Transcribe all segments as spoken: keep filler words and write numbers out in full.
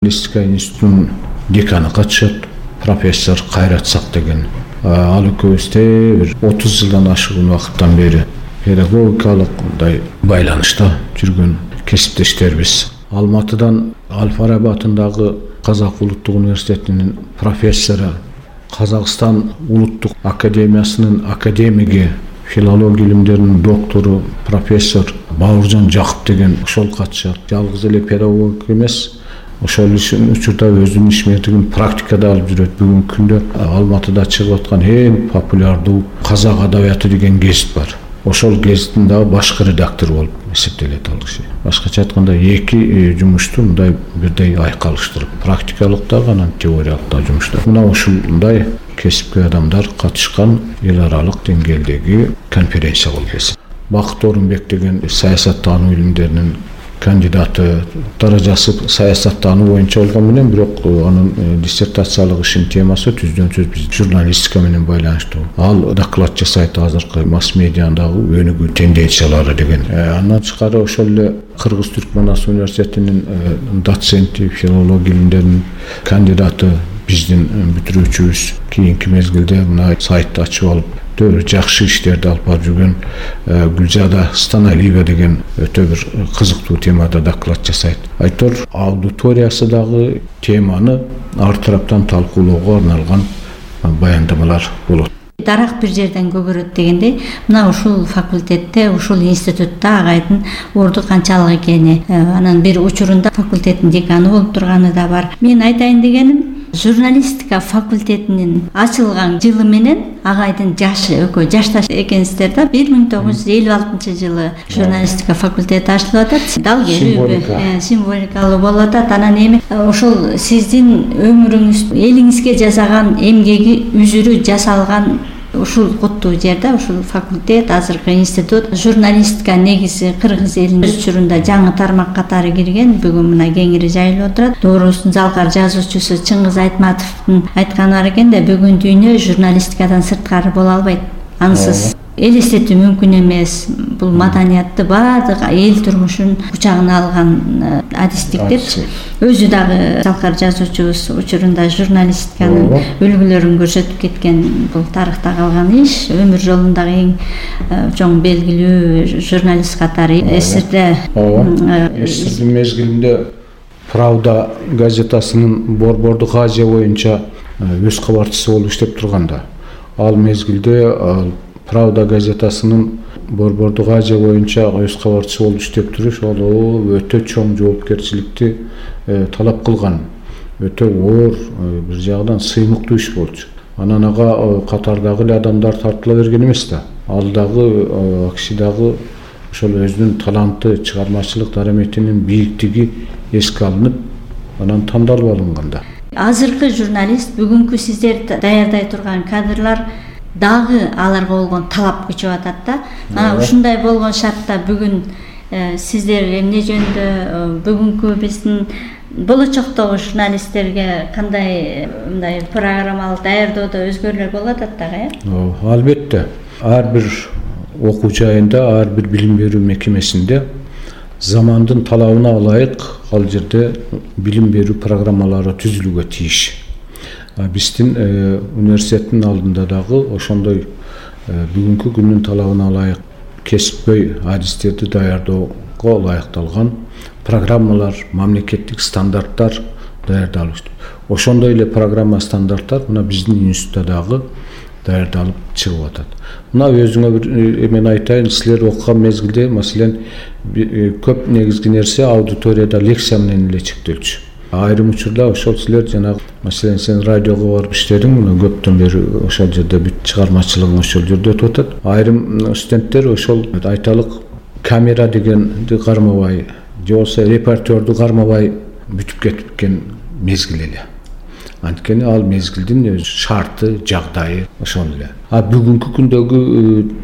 Журналистика институтунун деканы катышат, профессор Кайрат Сак деген. Ал экөөбүздө бир отуз жылдан ашыгын убакыттан бери педагогикалык мындай байланышта жүргөн кесиптештербиз. Алматыдан Ал-Фараби атындагы Казак улуттук университетинин профессору, Казакстан улуттук академиясынын академиги, филология илимдеринин доктору, профессор Бауыржан Жакып деген ошол катышат. Жалгыз эле педагог эмес, ошол ишин учурда өзүнүн ишмердигин практикада алып жүрөт. Бүгүнкү күндө Алматыда чыгып аткан эң популярдуу Казак адабияты деген гезит бар. Ошол гезиттин дагы башкы редактору болуп эсептелет ал киши. Башкача айтканда эки жумушту мындай бирдей айкалыштырып, практикалык дагы, анан теориялык да жумуштар. Мына ушундай кесипкөй адамдар катышкан эл аралык деңгээлдеги конференция болуп эсептелет. Бакыт Орунбек деген саясаттануу илимдеринин кандидаты, даражасы саясаттануу боюнча болгон менен, бирок анын диссертациялык ишинин темасы түздөн сөз биз журналистика менен байланыштуу. Ал доклад жасайт азыркы масс медиадагы өнүгүү тенденциялары деген. Андан тышкары ошол эле Кыргыз Түркманас университетинин доценти, филология илимдеринин кандидаты, биздин бүтүрүүчүбүз, кийинки мезгилде мына сайтты ачып алып өтө жакшы иштерди алып барып жүргөн Гүлжада Станалиева деген өтө бир кызыктуу темада доклад жасайт. Айтор аудиториясы дагы теманы ар тараптан талкуулоого арналган баяндамалар болот. Дарак бир жерден көгөрөт дегендей, мына ушул факультетте, ушул институтта агайдын орду канчалык экени, анан бир учурунда факультеттин деканы болуп турганы да бар. Мен айтайын дегеним, журналистика факультетинин ачылган жылы менен агайдын жашы экөө жашташ экенсиздер да. бир миң тогуз жүз элүү алтынчы жылы журналистика факультети ачылып атат. Дал келүүбү, символикалуу болуп атат. Анан эми ошол сиздин өмүрүңүз, элиңизге жасаган эмгеги үзүрү жасалган ушул куттуу жерде, ушул факультет, азыркы институт, журналистика негизи кыргыз элинин өз учурунда жаңы тармак катары кирген, бүгүн мына кеңири жайылып отурат. Доорусун залкар жазуучусу Чыңгыз Айтматовдун айтканы бар экен да, бүгүн дүйнө журналистикадан сырткары боло албайт. Ансыз элестетүү мүмкүн эмес. Бул маданиятты баардык эл турмушун кучагына алган адистик деп өзү дагы залкар жазуучубуз учурунда журналистиканын үлгүлөрүн көрсөтүп кеткен. Бул тарыхта калган иш. Өмүр жолундагы эң чоң белгилүү журналист катары СССРде СССРдин мезгилинде Правда газетасынын борбордук Азия боюнча өз кабарчысы болуп иштеп турганда, ал мезгилде Правда газетасынын борбордук Азия боюнча өз кабарчысы болуп иштеп туруш ал өтө чоң жоопкерчиликти талап кылган, өтө оор, бир жагынан сыймыктуу иш болчу. Анан ага катардагы эле адамдар тартыла берген эмес да. Ал дагы киши дагы ошол өзүнүн таланты, чыгармачылык дараметинин бийиктиги эске алынып, анан тандалып алынганда. Азыркы журналист, бүгүнкү сиздер даярдай турган кадрлар дагы аларга болгон талап күчөп атат да. Анан ушундай болгон шартта бүгүн сиздер эмне жөнүндө бүгүнкү биздин болочоктогу журналисттерге кандай мындай программалык даярдоодо өзгөрүүлөр болуп атат дагы, э? Албетте. Ар бир окуу жайында, ар бир билим берүү мекемесинде замандын талабына ылайык ал жерде билим берүү программалары түзүлүүгө тийиш. Биздин университеттин алдында дагы ошондой бүгүнкү күндүн талабына ылайык кесипкөй адистерди даярдоого ылайыкталган программалар, мамлекеттик стандарттар даярдалып. Ошондой эле программа, стандарттар мына биздин институтта дагы даярдалып чыгып атат. Мына өзүңө бир эмен айтайын, силер окуган мезгилде, маселен, көп негизги нерсе аудиторияда лекция менен эле чектелчү. Айрым учурда ошол силер жанагы, маселен, сен радиого барып иштедиң, мына көптөн бери ошол жерде бүт чыгармачылыгың ошол жерде өтүп атат. Айрым студенттер ошол айталык камера дегенди кармабай, же болбосо репортерду кармабай бүтүп кеткен мезгил эле. Анткени ал мезгилдин өз шарты, жагдайы ошол эле. А бүгүнкү күндөгү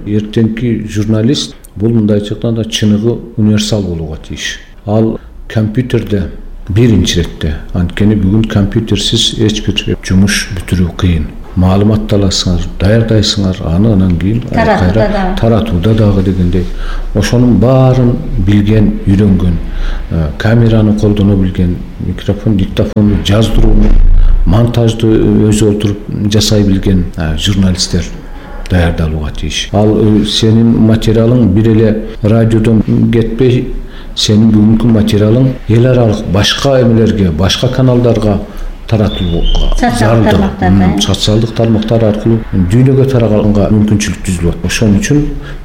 эртеңки журналист бул мындайча айтканда чыныгы универсал болууга тийиш. Ал компьютерде биринчи иретте, анткени бүгүн компьютерсиз эч бир жумуш бүтүрүү кыйын. маалымат аласыңар, даярдайсыңар, аны анан кийин кайра таратууда дагы дегендей ошонун баарын билген, үйрөнгөн, камераны колдоно билген, микрофон, диктофонду жаздырууну, монтажды өзү отуруп жасай билген журналисттер даярдалууга тийиш. Ал сенин материалың бир эле радиодон кетпей, сенин бүгүнкү материалың эл аралык башка эмелерге, башка каналдарга таратылууга, социалдык тармактар аркылуу дүйнөгө тараганга мүмкүнчүлүк түзүлөт. Ошон үчүн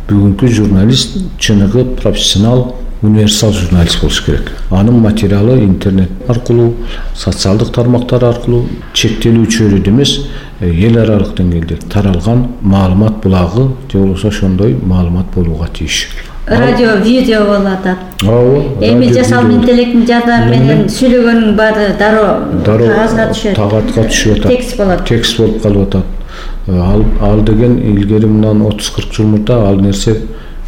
бүгүнкү журналист чыныгы профессионал, универсал журналист болуш керек. Анын материалы интернет аркылуу, социалдык тармактар аркылуу чектелүүчү эмес, эл аралык деңгээлде таралган маалымат булагы же болбосо ошондой маалымат болууга тийиш. Радио, видео болуп атат. Ооба. Эми жасалма интеллекттин жардамы менен сүйлөгөнүн баары дароо кагазга түшөт. Кагазга түшүп атат. Текст болот. Текст болуп калып атат. Ал ал деген илгери мындан отуз кырк жыл мурда ал нерсе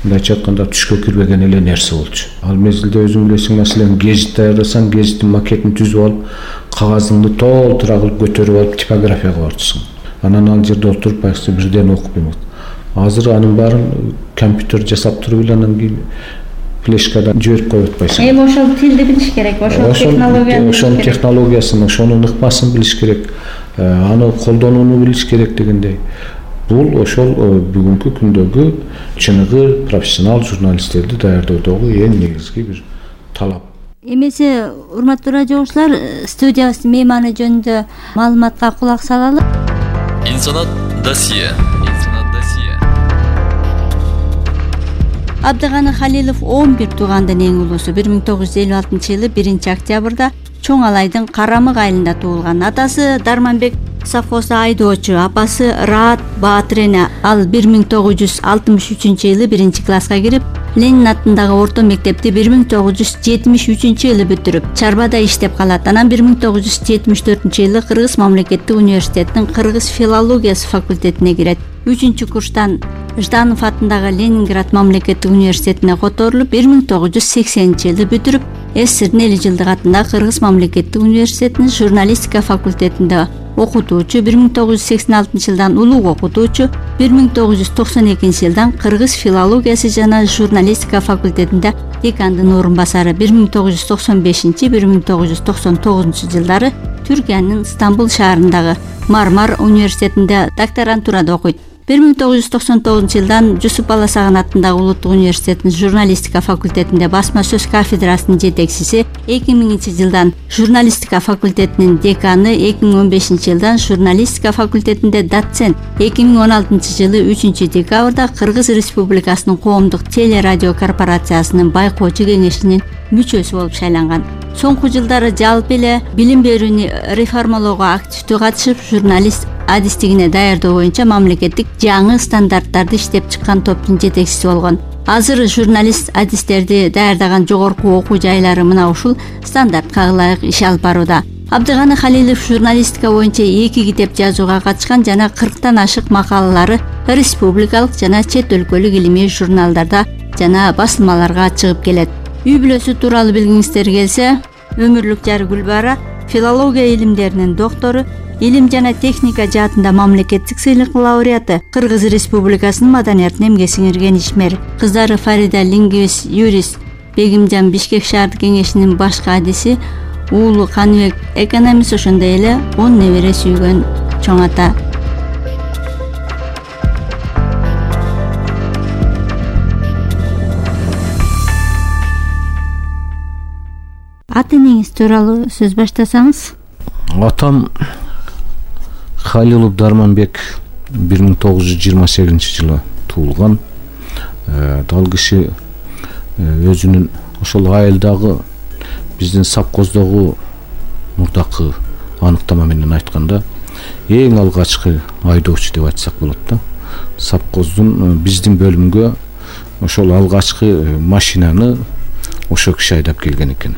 мындайча айтканда түшкө кирбеген эле нерсе болчу. Ал мезгилде өзүң билесиң, маселен, гезит даярдасаң, гезиттин макетин түзүп алып, кагазыңды толтура кылып көтөрүп алып типографияга барчысың. Анан ал жерде отуруп байкысы бирден окуп эмет. Азыр анын баарын компьютер жасап туруп эле анан кийин флешкадан жиберип коюп атпайсың. Эми ошол тилди билиш керек, ошол технологияны, ошонун технологиясын, ошонун ыкмасын билиш керек, аны колдонууну билиш керек дегендей. Бул ошол бүгүнкү күндөгү чыныгы профессионал журналисттерди даярдоодогу эң негизги бир талап. Эмесе, урматтуу радио угуучулар, студиябыздын мейманы жөнүндө маалыматка кулак салалы. Инсанат досье. Абдыганы Халилов он бир туугандын эң улуусу. бир миң тогуз жүз элүү алтынчы жылы биринчи октябрда Чоң Алайдын Карамык айылында туулган. Атасы Дарманбек совхозу айдоочу, апасы Раат Баатырена. Ал бир миң тогуз жүз алтымыш үчүнчү жылы биринчи класска кирип, Ленин атындагы орто мектепти бир миң тогуз жүз жетимиш үчүнчү жылы бүтүрүп, Чарбада иштеп калат. Анан бир миң тогуз жүз жетимиш төртүнчү жылы Кыргыз мамлекеттик университетинин Кыргыз филологиясы факультетине кирет. үчүнчү курстан Жданов атындагы Ленинград мамлекеттик университетине которулуп, бир миң тогуз жүз сексенинчи жылы бүтүрүп, СССРдин эли жылдык атындагы Кыргыз мамлекеттик университетинин журналистика факультетинде окутуучу, бир миң тогуз жүз сексен алтынчы жылдан улуг окутуучу, бир миң тогуз жүз токсон экинчи жылдан Кыргыз филологиясы жана журналистика факультетинде декандын орун басары, бир миң тогуз жүз токсон бешинчи — бир миң тогуз жүз токсон тогузунчу жылдары Түркиянын Стамбул шаарындагы Мармар университетинде докторантурада окуйт. бир миң тогуз жүз токсон тогузунчу жылдан Жусуп Баласаган атындагы Улуттук университетинин журналистика факультетинде басма сөз кафедрасынын жетекчиси, эки миңинчи жылдан журналистика факультетинин деканы, эки миң он бешинчи жылдан журналистика факультетинде доцент, эки миң он алтынчы жылы үчүнчү декабрда Кыргыз Республикасынын Коомдук телерадио корпорациясынын байкоочу кеңешинин мүчөсү болуп шайланган. Соңку жылдары жалпы эле билим берүүнү реформалоого активдүү катышып, журналист адистигине даярдоо боюнча мамлекеттик жаңы стандарттарды иштеп чыккан топтун жетекчиси болгон. Азыр журналист адистерди даярдаган жогорку окуу жайлары мына ушул стандартка ылайык иш алып барууда. Абдыганы Халилов журналистика боюнча эки китеп жазууга катышкан жана кырктан ашык макалалары республикалык жана чет өлкөлүк илимий журналдарда жана басылмаларга чыгып келет. Үй бүлөсү тууралуу билгиңиздер келсе, өмүрлүк жары Гүлбара филология илимдеринин доктору, илим жана техника жаатында мамлекеттик сыйлык лауреаты, Кыргыз Республикасынын маданиятын эмгек сиңирген ишмер. Кыздары Фарида лингвист, юрист, Бегимжан Бишкек шаардык кеңешинин башкы адиси, уулу Каныбек экономист, ошондой эле он небере сүйгөн чоң ата. Ата энеңиз тууралуу сөз баштасаңыз. Атам Халилов Дарманбек бир миң тогуз жүз жыйырма сегизинчи жылы туулган. Ал киши өзүнүн ошол айылдагы биздин совхоздогу мурдакы аныктама менен айтканда эң алгачкы айдоочу деп айтсак болот да. Совхоздун биздин бөлүмгө ошол алгачкы машинаны ошол киши айдап келген экен.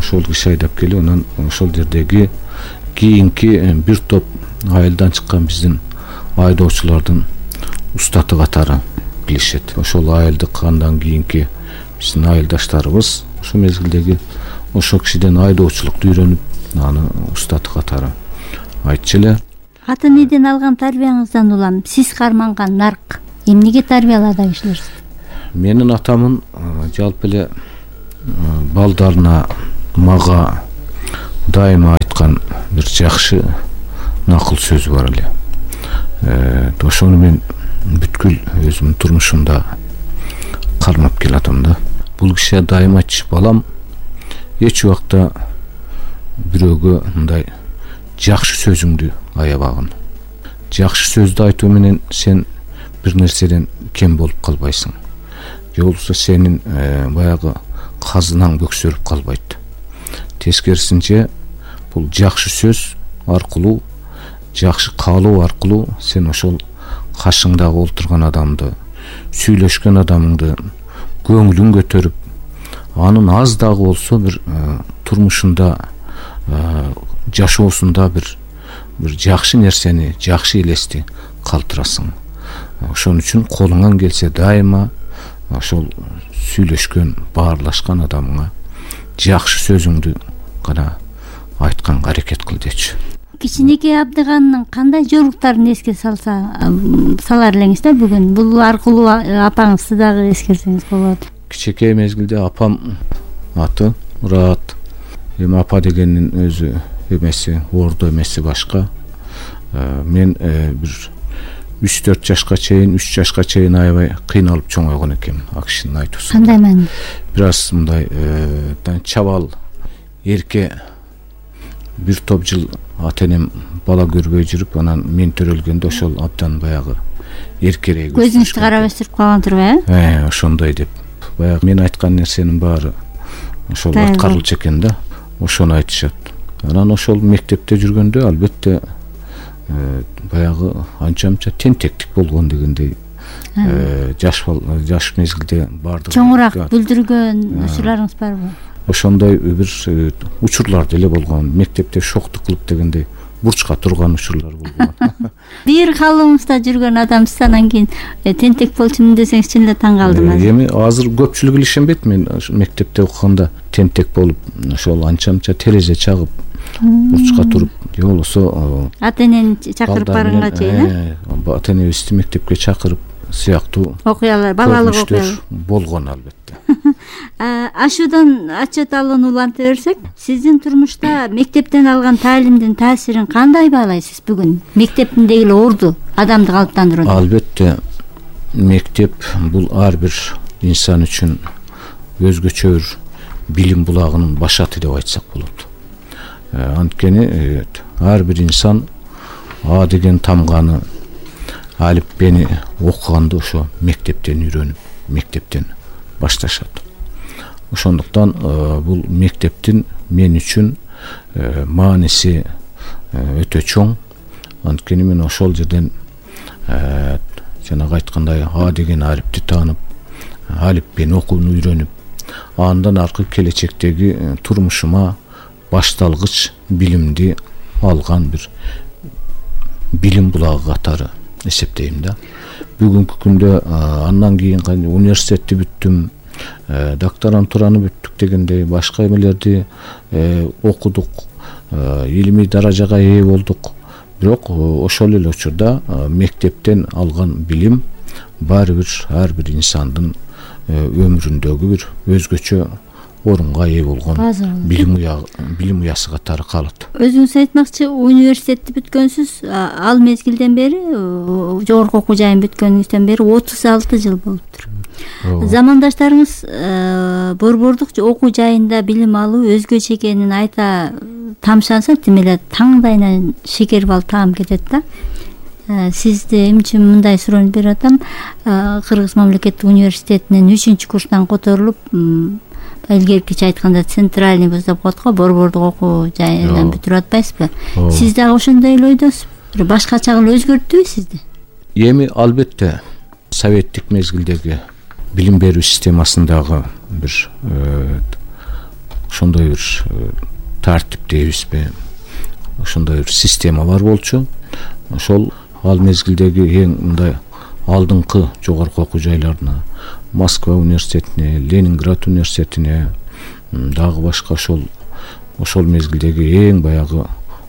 Ошол киши айдап келип, анан ошол жердеги кийинки бир топ айылдан чыккан биздин айдоочулардын устаты катары билишет. Ошол айылдык андан кийинки биздин айылдаштарыбыз ошол мезгилдеги ошол кишиден айдоочулукту үйрөнүп, аны устаты катары айтчу эле. ата энеден алган тарбияңыздан улам сиз карманган нарк эмнеге тарбиялады кишилер? Менин атамын жалпы эле балдарына мага дайыма айткан бир жакшы накыл сөзү бар эле. Ошону мен бүткүл өзүмдүн турмушумда кармап келатам да. Бул киши дайыма айтчу: балам, эч убакта бирөөгө мындай жакшы сөзүңдү аябагын. Жакшы сөздү айтуу менен сен бир нерседен кем болуп калбайсың. Же болбосо сенин баягы казынаң бөксөрүп калбайт. Тескерисинче бул жакшы сөз аркылуу, жакшы каалоо аркылуу сен ошол кашыңдагы олтурган адамды, сүйлөшкөн адамыңды көңүлүн көтөрүп, анын аз дагы болсо бир турмушунда, жашоосунда бир бир жакшы нерсени, жакшы элести калтырасың. Ошон үчүн колуңан келсе дайыма ошол сүйлөшкөн, баарлашкан адамыңа жакшы сөзүңдү гана айтканга аракет кыл дечү. Кичинекей Абдыганын кандай жоруктарын эске салса салар элеңиз да бүгүн? Бул аркылуу апаңызды дагы эскерсеңиз болот. Кичинекей мезгилде апам аты Мурат. Эми апа дегендин өзү эмеси, ордо эмеси башка. Мен бир үч төрт жашка чейин, үч жашка чейин аябай кыйналып чоңойгон экенмин. Акшинин айтуусу. Кандай маани? Бир аз мындай чабал, эрке бир топ жыл ата энем бала көрбөй жүрүп, анан мен төрөлгөндө ошол абдан баягы эркерээк. Көзүңүздү карап өстүрүп калган турбайбы? Э, ошондой деп. Баягы мен айткан нерсенин баары ошол аткарылчу экен да. Ошону айтышат. Анан ошол мектепте жүргөндө албетте баягы анча-мынча тентектик болгон дегендей жаш жаш мезгилде бардык. Чоңураак бүлдүргөн учурларыңыз барбы? Ошондой бир учурлар деле болгон. Мектепте шоктук кылып дегендей бурчка турган учурлар болгон. Бир калыбыңызда жүргөн адамсыз, анан кийин тентек болчумун десеңиз чын эле таң калдым. Эми азыр көпчүлүк эле ишенбейт. Мен мектепте окуганда тентек болуп, ошол анча-мынча терезе чагып, бурчка туруп, же болбосо ата энени чакырып барганга чейин, ата энебизди мектепке чакырып сыяктуу окуялар, балалык окуялар болгон албетте. Ашуудан отчет алууну уланта берсек, сиздин турмушта мектептен алган таалимдин таасирин кандай баалайсыз бүгүн? Мектептиндеги эле орду адамды калыптандырууда. Албетте мектеп бул ар бир инсан үчүн өзгөчө бир билим булагынын башаты деп айтсак болот. Анткени ар бир инсан А деген тамганы, алипбени окуганды ошо мектептен үйрөнүп, мектептен башташат. Ошондуктан бул мектептин мен үчүн мааниси өтө чоң. Анткени мен ошол жерден жанагы айткандай А деген алипти таанып, алипбени окууну үйрөнүп, андан аркы келечектеги турмушума башталгыч билимди алган бир билим булагы катары эсептейм да. Бүгүнкү күндө андан кийин университетти бүттүм, докторантураны бүттүк дегендей башка эмелерди окудук, илимий даражага ээ болдук. Бирок ошол эле учурда мектептен алган билим баары бир ар бир инсандын өмүрүндөгү бир өзгөчө орунга ээ болгон билим билим уясы катары калат. Өзүңүз айтмакчы, университетти бүткөнсүз, ал мезгилден бери, жогорку окуу жайын бүткөнүңүздөн бери отуз алты жыл болуптур. Замандаштарыңыз борбордук окуу жайында билим алуу өзгөчө экенин айта тамшанса, тим эле таңдайынан шекер бал таам кетет да. Сизде эмне үчүн мындай суроону берип атам? Кыргыз мамлекеттик университетинен үчүнчү курстан которулуп, илгеркиче айтканда центральный вуз деп коет го, борбордук окуу жайынан бүтүрүп атпайсызбы? Сиз дагы ошондой эл ойдосузбу? Бир башкача кылып өзгөрттүбү сизди? Эми албетте советтик мезгилдеги билим берүү системасындагы бир ошондой бир тартип дейбизби, ошондой бир система бар болчу. Ошол ал мезгилдеги эң мындай алдыңкы жогорку окуу жайларына, Москва университетине, Ленинград университетине, дагы башка ошол ошол мезгилдеги эң баягы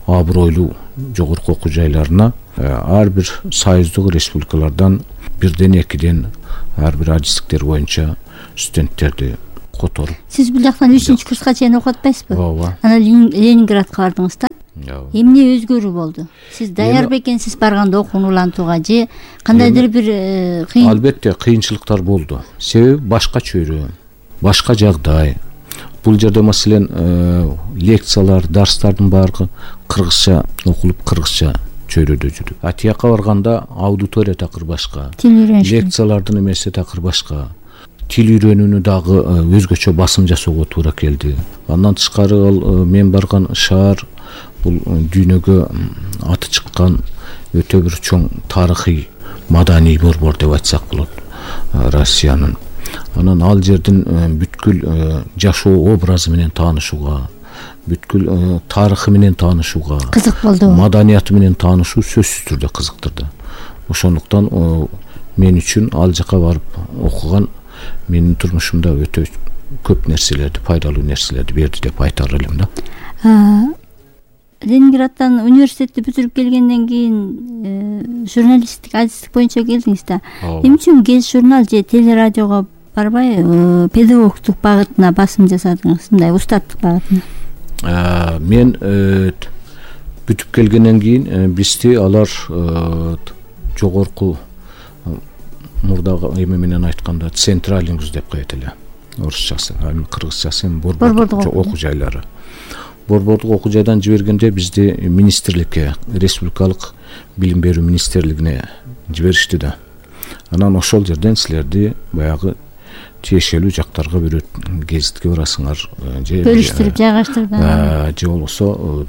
абройлуу жогорку окуу жайларына ар бир союздук республикалардан бирден экиден ар бир адистиктер боюнча студенттерди которуп. Сиз бул жактан үчүнчү курска чейин окуп атпайсызбы? Ооба. Анан Ленинградка бардыңыз да. Эмне өзгөрүү болду? Сиз даяр бекенсиз барганда окууну улантууга же кандайдыр бир кыйын? Албетте кыйынчылыктар болду. Себеби башка чөйрө, башка жагдай. Бул жерде маселен лекциялар, дарстардын баары кыргызча окулуп, кыргызча чөйрөдө жүрүп. А тияка барганда аудитория такыр башка. Лекциялардын эмеси такыр башка. Тил үйрөнүүнү дагы өзгөчө басым жасоого туура келди. Андан тышкары ал мен барган шаар бул дүйнөгө аты чыккан өтө бир чоң тарыхый маданий борбор деп айтсак болот Россиянын. Анан ал жердин бүткүл жашоо образы менен таанышууга, бүткүл тарыхы менен таанышууга кызык болду. Маданияты менен таанышуу сөзсүз түрдө кызыктырды. Ошондуктан мен үчүн ал жака барып окуган менин турмушумда өтө көп нерселерди, пайдалуу нерселерди берди деп айтар элем да. Ленинградтан университетти бүтүрүп келгенден кийин журналисттик, адистик боюнча келдиңиз да. Эмне үчүн гез журнал же телерадиого барбай педагогтук багытына басым жасадыңыз, мындай устаттык багытына? Мен бүтүп келгенден кийин бизди алар жогорку мурдагы эме менен айтканда централингус деп коет эле. Орусчасы, кыргызчасы борбордук окуу жайлары. Борбордук окуу жайдан жибергенде бизди министрликке, республикалык билим берүү министрлигине жиберишти да. Анан ошол жерден силерди баягы тиешелүү жактарга бирөт гезитке барасыңар, же бөлүштүрүп жайгаштырды. Же болбосо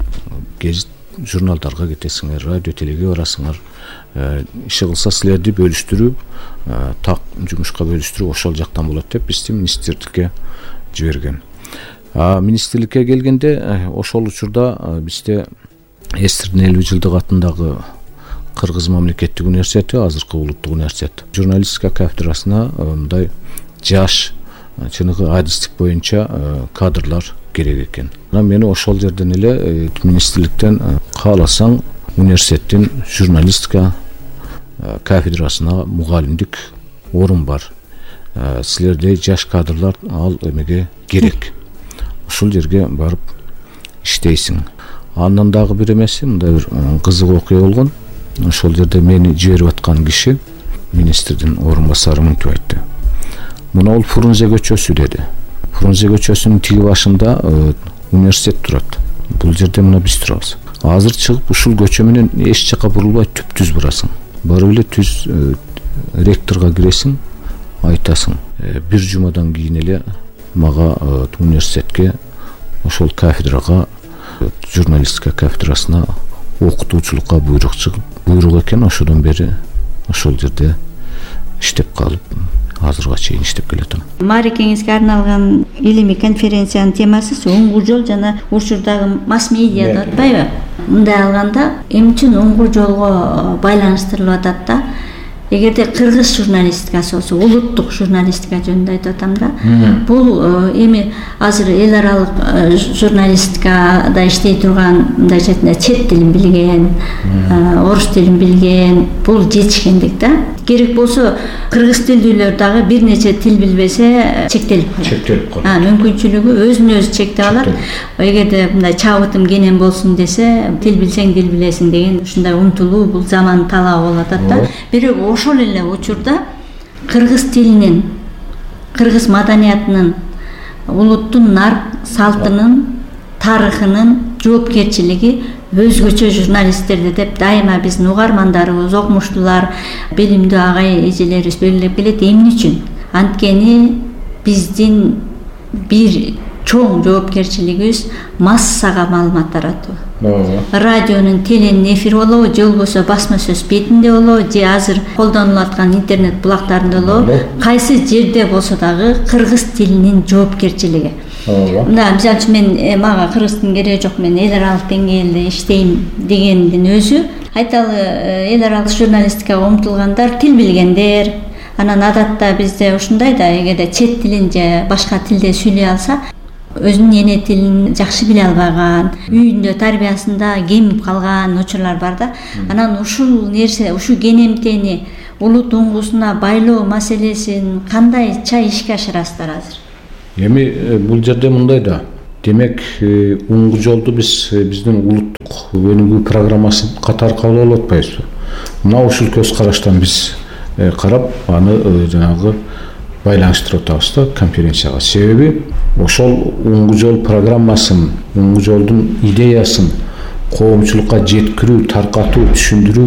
гезит журналдарга кетесиңер, радио телеге барасыңар. Иши кылса силерди бөлүштүрүү, так жумушка бөлүштүрүү ошол жактан болот деп бизди министрликке жиберген. А министрликке келгенде ошол учурда бизде Эстердин элүү жылдык атындагы Кыргыз мамлекеттик университети, азыркы улуттук университет, журналистика кафедрасына мындай жаш чыныгы адистик боюнча кадрлар керек экен. Анан мени ошол жерден эле министрликтен кааласаң университеттин журналистика кафедрасына мугалимдик орун бар. Силерде жаш кадрлар ал эмеге керек. Ушул жерге барып иштейсиң. Андан дагы бир эмеси, мындай бир кызык окуя болгон. Ошол жерде мени жиберип аткан киши министрдин орун басары мынтип айтты. Мына ол Фрунзе көчөсү деди. Фрунзе көчөсүнүн тиги башында университет турат. Бул жерде мына биз турабыз. Азыр чыгып ушул көчө менен эч жака бурулбай түп-түз барасың. Барып эле түз ректорго киресиң, айтасың. Бир жумадан кийин эле мага университетке ошол кафедрага, журналистика кафедрасына окутуучулукка буйрук чыгып, буйрук экен, ошодон бери ошол жерде иштеп калып, азырга чейин иштеп келатам. Маарекеңизге арналган илимий конференциянын темасы оңгу жол жана учурдагы масс медиа деп атпайбы? Мындай алганда эмне үчүн оңгу жолго байланыштырылып атат да? Эгерде кыргыз журналистикасы болсо, улуттук журналистика жөнүндө айтып атам да. Бул эми азыр эл аралык журналистикада иштей турган мындай чет тилин билген, орус тилин билген, бул жетишкендик да. Керек болсо кыргыз тилдүүлөр дагы бир нече тил билбесе чектелип калат. Чектелип калат. А, мүмкүнчүлүгү өзүн өзү чектеп алат. Эгерде мындай чабытым кенен болсун десе, тил билсең тил билесиң деген ушундай умтулуу бул заман талабы болуп атат да. Бирок ошол эле учурда кыргыз тилинин, кыргыз маданиятынын, улуттун нарк салтынын, тарыхынын жоопкерчилиги өзгөчө журналисттерди деп дайыма биздин угармандарыбыз, окумуштуулар, билимдүү агай эжелерибиз белгилеп келет. Эмне үчүн? Анткени биздин бир чоң жоопкерчилигибиз массага маалымат таратуу. Радионун, теленин эфири болобу, же болбосо басма сөз бетинде болобу, же азыр колдонулуп аткан интернет булактарында болобу, кайсы жерде болсо дагы кыргыз тилинин жоопкерчилиги. Мына мисалы үчүн мен мага кыргыздын кереги жок, мен эл аралык деңгээлде иштейм дегендин өзү, айталы эл аралык журналистикага умтулгандар тил билгендер. Анан адатта бизде ушундай да, эгерде чет тилин же башка тилде сүйлөй алса, өзүнүн эне тилин жакшы биле албаган, үйүндө тарбиясында кемип калган учурлар бар да. Анан ушул нерсе, ушул кенемтени улут уңгусуна байлоо маселесин кандайча ишке ашырасыздар азыр? Эми бул жерде мындай да. Демек, уңгу жолду биз биздин улуттук өнүгүү программасы катары кабыл алып атпайбызбы? Мына ушул көз караштан биз карап, аны жанагы байланыштырып атабыз да конференцияга. Себеби ошол уңгу жол программасын, уңгу жолдун идеясын коомчулукка жеткирүү, таркатуу, түшүндүрүү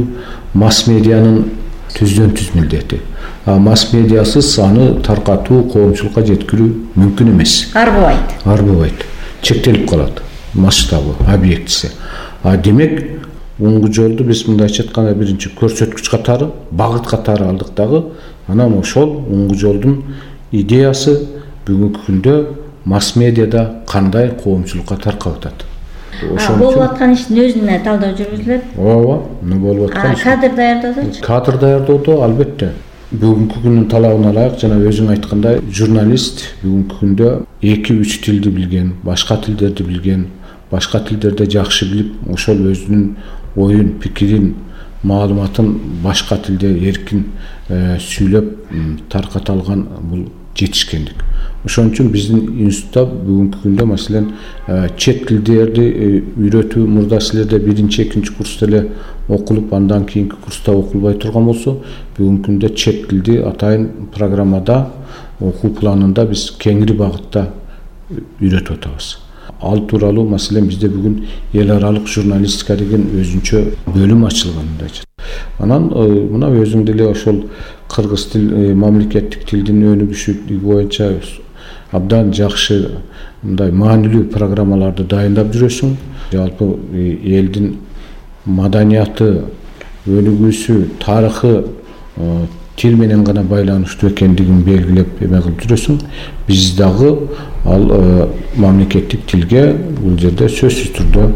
масс медианын түздөн түз милдети. А масс медиасыз аны таркатуу, коомчулукка жеткирүү мүмкүн эмес. Арбыбайт. Арбыбайт. Чектелип калат масштабы, объектиси. А демек, уңгу жолду биз мындайча айтканда биринчи көрсөткүч катары, багыт катары алдык дагы. Анан ошол уңгу жолдун идеясы бүгүнкү күндө масс медиада кандай коомчулукка таркап атат. Болуп аткан иштин өзүнө талдоо жүргүзүлөт. Ооба, эмне болуп аткан иш. Кадр даярдоодочу? Кадр даярдоодо албетте. Бүгүнкү күндүн талабына ылайык, жана өзүң айткандай, журналист бүгүнкү күндө эки үч тилди билген, башка тилдерди билген, башка тилдерди жакшы билип, ошол өзүнүн оюн, пикирин, маалыматын башка тилде эркин сүйлөп тарката алган бул жетишкендик. Ошон үчүн биздин институтта бүгүнкү күндө маселен чет тилдерди үйрөтүү мурда силерде биринчи, экинчи курста эле окулуп, андан кийинки курста окулбай турган болсо, бүгүнкү күндө чет тилди атайын программада, окуу планында биз кеңири багытта үйрөтүп атабыз. Ал тууралуу маселен бизде бүгүн эл аралык журналистика деген өзүнчө бөлүм ачылган мындайча. Анан мына өзүң деле ошол кыргыз тил, мамлекеттик тилдин өнүгүшү боюнча абдан жакшы мындай маанилүү программаларды дайындап жүрөсүң. Жалпы элдин маданияты, өнүгүүсү, тарыхы тил менен гана байланыштуу экендигин белгилеп эме кылып жүрөсүң. Биз дагы ал мамлекеттик тилге бул жерде сөзсүз түрдө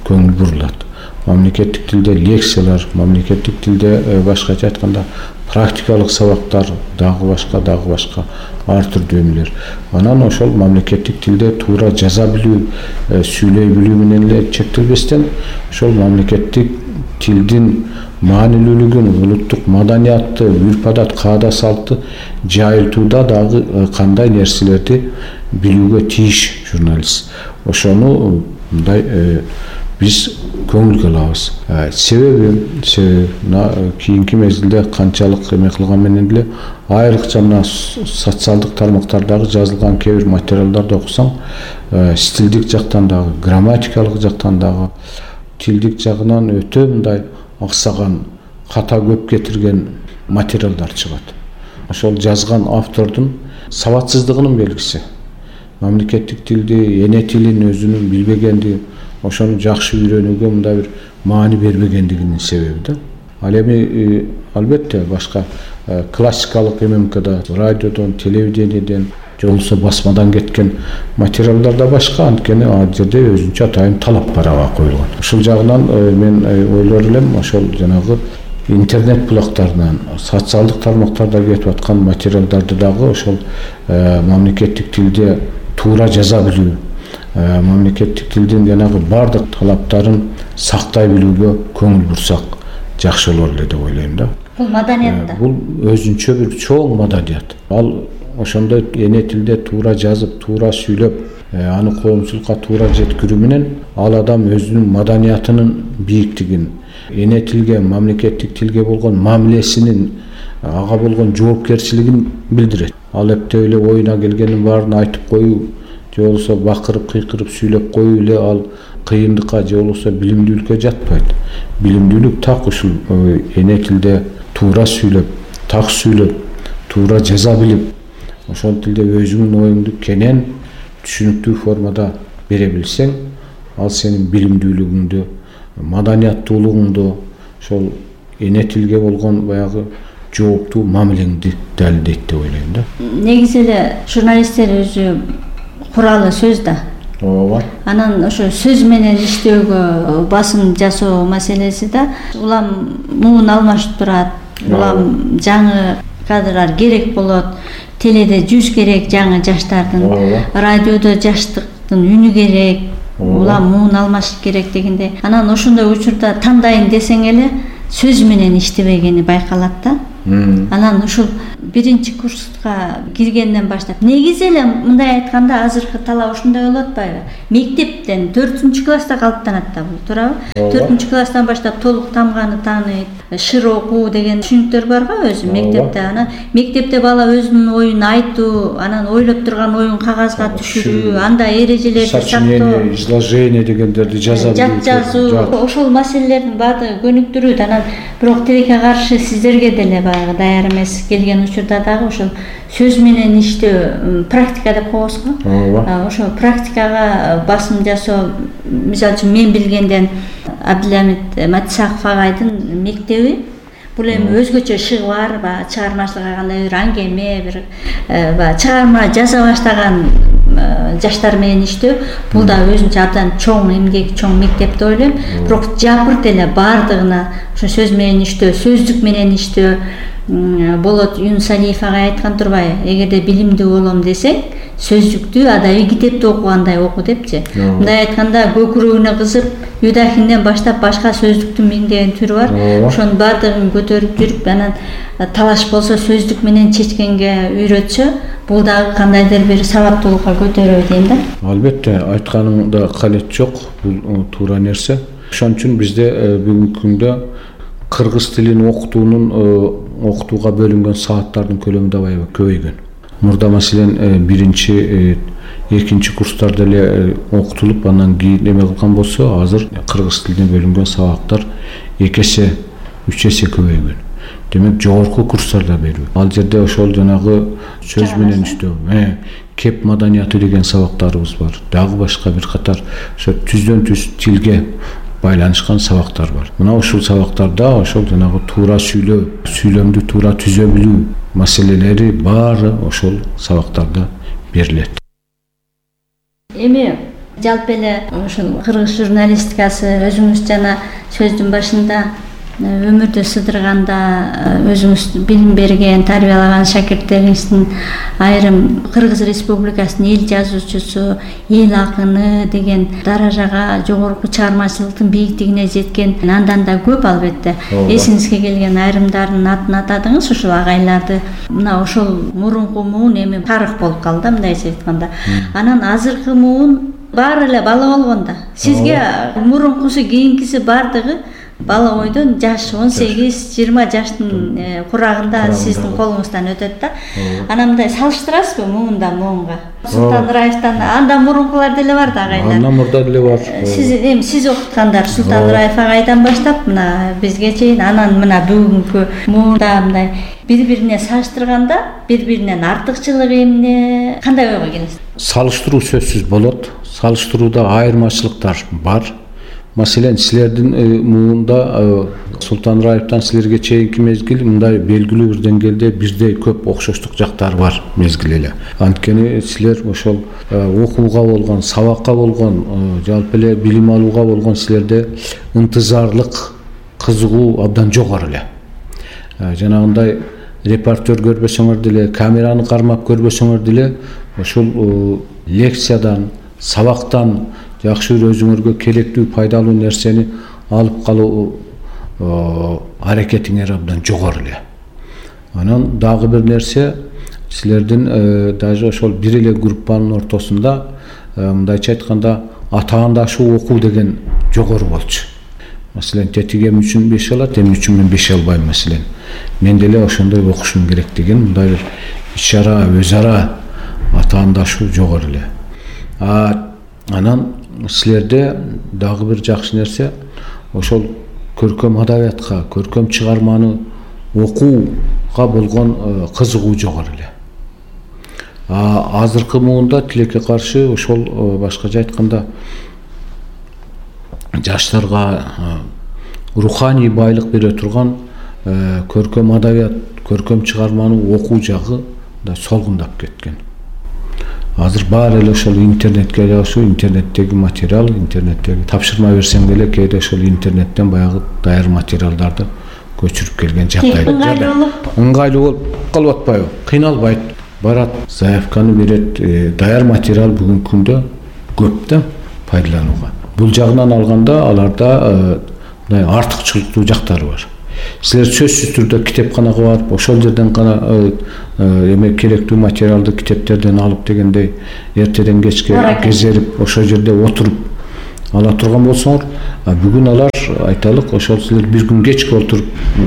көңүл бурулат. Мамлекеттик тилде лекциялар, мамлекеттик тилде башкача айтканда практикалык сабактар, дагы башка, дагы башка ар түрдүү эмелер. Анан ошол мамлекеттик тилде туура жаза билүү, сүйлөй билүү менен эле чектелбестен, ошол мамлекеттик тилдин маанилүүлүгүн, улуттук маданиятты, үрп-адат, каада салтты жайылтууда дагы кандай нерселерди билүүгө тийиш журналист. Ошону мындай биз көңүлгө алабыз. Себеби, себеби кийинки мезгилде канчалык эме кылган менен эле айрыкча мына социалдык тармактардагы жазылган кээ бир материалдарды окусаң, стилдик жактан дагы, грамматикалык жактан дагы, тилдик жагынан өтө мындай аксаган, ката көп кетирген материалдар чыгат. Ошол жазган автордун сабатсыздыгынын белгиси. Мамлекеттик тилди, эне тилин өзүнүн билбегенди, ошону жакшы үйрөнүүгө мындай бир маани бербегендигинин себеби да. Ал эми албетте башка классикалык ММКда, радиодон, телевидениеден, же болбосо басмадан кеткен материалдар да башка, анткени ал жерде өзүнчө атайын талап бар ага коюлган. Ушул жагынан мен ойлор элем, ошол жанагы интернет булактарынан, социалдык тармактарда кетип аткан материалдарды дагы ошол мамлекеттик тилде туура жаза билүү, мамлекеттик тилдин жанагы бардык талаптарын сактай билүүгө көңүл бурсак жакшы болор эле деп ойлойм да. Бул маданият да. Бул өзүнчө бир чоң маданият. Ал ошондой эне тилде туура жазып, туура сүйлөп, аны коомчулукка туура жеткирүү менен ал адам өзүнүн маданиятынын бийиктигин, эне тилге, мамлекеттик тилге болгон мамилесинин, ага болгон жоопкерчилигин билдирет. Ал эптеп эле оюна келгенин баарын айтып коюу, же болбосо бакырып, кыйкырып сүйлөп коюу эле ал кыйындыкка же болбосо билимдүүлүккө жатпайт. Билимдүүлүк так ушул эне тилде туура сүйлөп, так сүйлөп, туура жаза билип, ошол тилде өзүңдүн оюңду кенен түшүнүктүү формада бере билсең, ал сенин билимдүүлүгүңдү, маданияттуулугуңду, ошол эне тилге болгон баягы жооптуу мамилеңди далилдейт деп ойлойм да. Негизи эле журналисттер өзү куралы сөз да. Ооба. Анан ошо сөз менен иштөөгө басым жасоо маселеси да. Улам муун алмашып турат. Улам жаңы кадрлар керек болот. Теледе жүз керек жаңы жаштардын. Радиодо жаштык үнү керек, улам муун алмашыш керек дегенде, анан ошондой учурда тандайын десең эле сөз менен иштебегени байкалат да. Анан ушул биринчи курска киргенден баштап, негизи эле мындай айтканда азыркы талап ушундай болуп атпайбы? Мектептен төртүнчү класста калыптанат да бул, туурабы? төртүнчү класстан баштап толук тамганы тааныйт, шыр окуу деген түшүнүктөр бар го өзү мектепте. Анан мектепте бала өзүнүн оюн айтуу, анан ойлоп турган оюн кагазга түшүрүү, андай эрежелерди сочинение, изложение дегендерди жаза билүү, жат жазуу, ошол маселелердин баардыгы көнүктүрүүт. Анан бирок тилекке каршы сиздерге деле баягы даяр эмес келген учурда дагы ошол сөз менен иштөө, практика деп коебуз го. Ошо практикага басым жасоо, мисалы үчүн мен билгенден Абдиламит Матисаков агайдын мектеби бул эми өзгөчө шыгы бар, баягы чыгармачылыкка кандай бир аңгеме, бир баягы чыгарма жаза баштаган жаштар менен иштөө, бул да өзүнчө абдан чоң эмгек, чоң мектеп деп ойлойм. Бирок жапырт эле баардыгына ошо сөз менен иштөө, сөздүк менен иштөө болот. Юнус Алиев агай айткан турбайбы? Эгерде билимдүү болом десең, сөздүктү адаби китепти окугандай оку депчи. Мындай айтканда көкүрөгүнө кызып, Юдахинден баштап башка сөздүктүн миңдеген түрү бар. Ошонун баардыгын көтөрүп жүрүп, анан талаш болсо сөздүк менен чечкенге үйрөтсө, бул дагы кандайдыр бир сабаттуулукка көтөрөбү дейм да. Албетте, айтканыңда калет жок, бул туура нерсе. Ошон үчүн бизде бүгүнкү күндө кыргыз тилин окутуунун окутууга бөлүнгөн сааттардын көлөмү да аябай көбөйгөн. Мурда маселен биринчи, экинчи курстарда эле окутулуп, анан кийин эме кылган болсо, азыр кыргыз тилине бөлүнгөн сабактар эки эсе, үч эсе көбөйгөн. Демек, жогорку курстарда берүү. Ал жерде ошол жанагы сөз менен иштөө, кеп маданияты деген сабактарыбыз бар. Дагы башка бир катар ошо түздөн түз тилге байланышкан сабактар бар. Мына ушул сабактарда ошол жанагы туура сүйлөө, сүйлөмдү туура түзө билүү маселелери баары ошол сабактарда берилет. Эми жалпы эле ушул кыргыз журналистикасы өзүңүз жана сөздүн башында өмүрдү сыдырганда өзүңүз билим берген, тарбиялаган шакирттериңиздин айрым Кыргыз Республикасынын эл жазуучусу, эл акыны деген даражага, жогорку чыгармачылыктын бийиктигине жеткен андан да көп албетте. Эсиңизге келген айрымдардын атын атадыңыз, ушул агайларды. Мына ошол мурунку муун эми тарых болуп калды да, мындайча айтканда. Анан азыркы муун баары эле бала болгондо. Сизге мурункусу, кийинкиси баардыгы бала бойдон жаш он сегиз жыйырма жаштын курагында сиздин колуңуздан өтөт да. Анан мындай салыштырасызбы муунда муунга? Султан Раевтан андан мурункулар деле бар да агайлар. Андан мурда деле бар. Сиз эми сиз окуткандар Султан Раев агайдан баштап мына бизге чейин, анан мына бүгүнкү муунда мындай бири-бирине салыштырганда бири-биринен артыкчылыгы эмне, кандай ойго келесиз? Салыштыруу сөзсүз болот. Салыштырууда айырмачылыктар бар. Маселен, силердин муунда Султан Раевтан силерге чейинки мезгил мындай белгилүү бир деңгээлде бирдей көп окшоштук жактары бар мезгил эле. Анткени силер ошол окууга болгон, сабакка болгон, жалпы эле билим алууга болгон силерде ынтызарлык, кызыгуу абдан жогору эле. Жанагындай репортер көрбөсөңөр деле, камераны кармап көрбөсөңөр деле, ошол лекциядан, сабактан жакшы бир өзүңөргө керектүү, пайдалуу нерсени алып калуу аракетиңер абдан жогору эле. Анан дагы бир нерсе, силердин даже ошол бир эле группанын ортосунда мындайча айтканда атаандашуу окуу деген жогору болчу. Маселен, тетигем үчүн беш алат, эми үчүн мен беш албайм маселен. Мен деле ошондой окушум керек деген мындай бир иш-чара, өз ара атаандашуу жогору эле. Анан силерде дагы бир жакшы нерсе, ошол көркөм адабиятка, көркөм чыгарманы окууга болгон кызыгуу жогору эле. Азыркы муунда тилекке каршы ошол башкача айтканда жаштарга руханий байлык бере турган көркөм адабият, көркөм чыгарманы окуу жагы да солгундап кеткен. Азыр баары эле ошол интернетке жашуу, интернеттеги материал, интернеттеги тапшырма берсең деле кээде ошол интернеттен баягы даяр материалдарды көчүрүп келген жагдайлар. Ыңгайлуу болуп калып атпайбы? Кыйналбайт. Барат, заявканы берет. Даяр материал бүгүнкү күндө көп да пайдаланууга. Бул жагынан алганда аларда мындай артыкчылыктуу жактары бар. Силер сөзсүз түрдө китепканага барып, ошол жерден гана эме керектүү материалды китептерден алып дегендей эртеден кечке кезерип ошол жерде отуруп ала турган болсоңор, бүгүн алар айталык, ошол силер бир күн кечке отуруп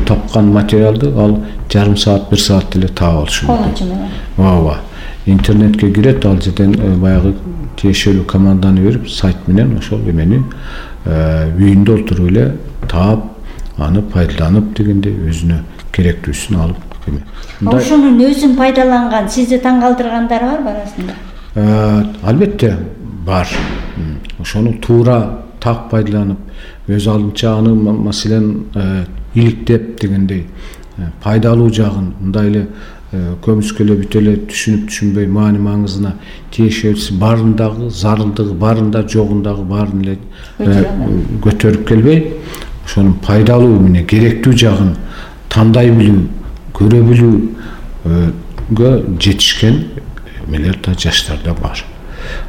тапкан материалды ал жарым саат, бир саат эле таап алышы мүмкүн. Ооба. Интернетке кирет, ал жерден баягы тиешелүү команданы берип, сайт менен ошол эмени үйүндө отуруп эле таап, аны пайдаланып дегенде өзүнө керектүүсүн алып эме. Ошонун өзүн пайдаланган, сизди таң калтыргандар барбы арасында? Албетте бар. Ошону туура так пайдаланып, өз алдынча аны маселен иликтеп дегендей пайдалуу жагын мындай эле көмүскө эле бүт эле түшүнүп түшүнбөй маани маңызына тиешелүүсү барындагы зарылдыгы барында жогундагы баарын эле көтөрүп келбей, ошонун пайдалуу эмне керектүү жагын тандай билүү, көрө билүүгө жетишкен эмелер да жаштарда бар.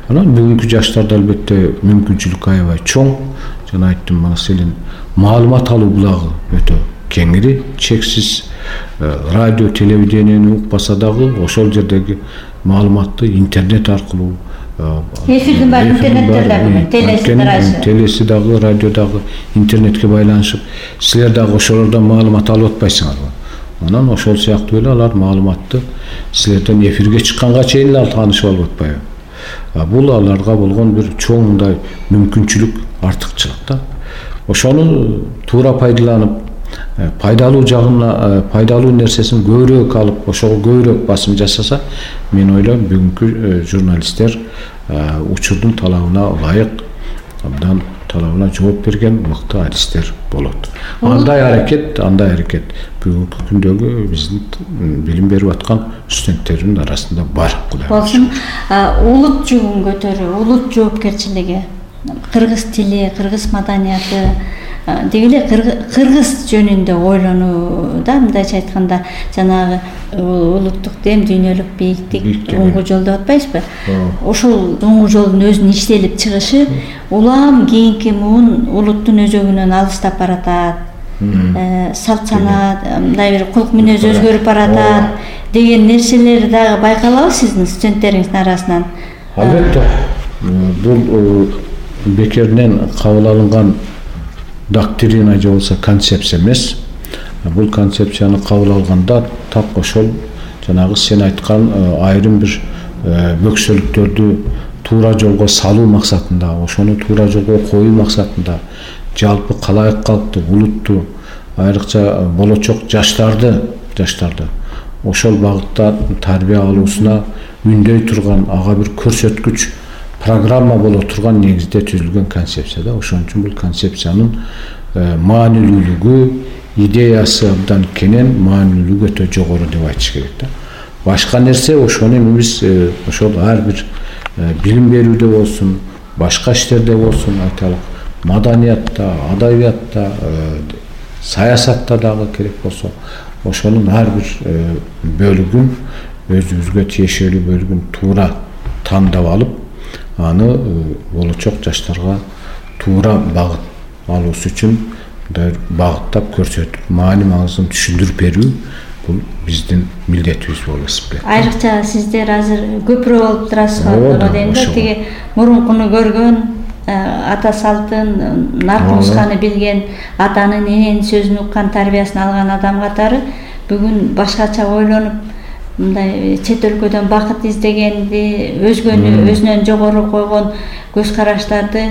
Анан бүгүнкү жаштарда албетте мүмкүнчүлүк аябай чоң. Жана айттым, маселен маалымат алуу булагы өтө кеңири, чексиз. Радио, телевидениени укпаса дагы ошол жердеги маалыматты интернет аркылуу эфирдин баары интернеттер дагы, телеси дагы, телеси дагы, радио дагы интернетке байланышып, силер дагы ошолордон маалымат алып атпайсыңарбы? Анан ошол сыяктуу эле алар маалыматты силерден эфирге чыкканга чейин ал таанышып алып атпайбы? Бул аларга болгон бир чоң мындай мүмкүнчүлүк, артыкчылык да. Ошону туура пайдаланып, пайдалуу жагына, пайдалуу нерсесин көбүрөөк алып, ошого көбүрөөк басым жасаса, мен ойлойм бүгүнкү журналисттер учурдун талабына ылайык, абдан талабына жооп берген мыкты адистер болот. Андай аракет, андай аракет бүгүнкү күндөгү биздин билим берип аткан студенттердин арасында бар. Болсун, улут жүгүн көтөрүү, улут жоопкерчилиги, кыргыз тили, кыргыз маданияты дегеле кыргыз жөнүндө ойлонуу да, мындайча айтканда, жанагы улуттук дем, дүйнөлүк бийиктик оңгу жол деп атпайсызбы? Ошол оңгу жолдун өзүнүн иштелип чыгышы улам кийинки муун улуттун өзөгүнөн алыстап баратат. Салт санаат, мындай бир кулк мүнөз өзгөрүп баратат деген нерселер дагы байкалабы сиздин студенттериңиздин арасынан? Албетте. Бул бекеринен кабыл алынган доктрина же болсо концепция эмес. Бул концепцияны кабыл алганда так ошол жанагы сен айткан айрым бир бөксөлүктөрдү туура жолго салуу максатында, ошону туура жолго коюу максатында жалпы калайык калкты, улутту, айрыкча болочок жаштарды, жаштарды ошол багытта тарбия алуусуна үндөй турган, ага бир көрсөткүч программа боло турган негизде түзүлгөн концепция да. Ошон үчүн бул концепциянын маанилүүлүгү, идеясы абдан кенен, маанилүүлүгү өтө жогору деп айтыш керек да. Башка нерсе ошону биз ошол ар бир билим берүүдө болсун, башка иштерде болсун, айталык, маданиятта, адабиятта, саясатта дагы керек болсо, ошонун ар бир бөлүгүн, өзүбүзгө тиешелүү бөлүгүн туура тандап алып, аны болочок жаштарга туура багыт алуусу үчүн багыттап көрсөтүп, маани маңызын түшүндүрүп берүү бул биздин милдетибиз болуп эсептелет. Айрыкча сиздер азыр көпүрө болуп турасыздар дейм да, тиги мурункуну көргөн, ата салтын, наркумусканы билген, атанын эненин сөзүн уккан, тарбиясын алган адам катары бүгүн башкача ойлонуп, мындай чет өлкөдөн бакыт издегенди, өзгөнү өзүнөн жогору койгон көз караштарды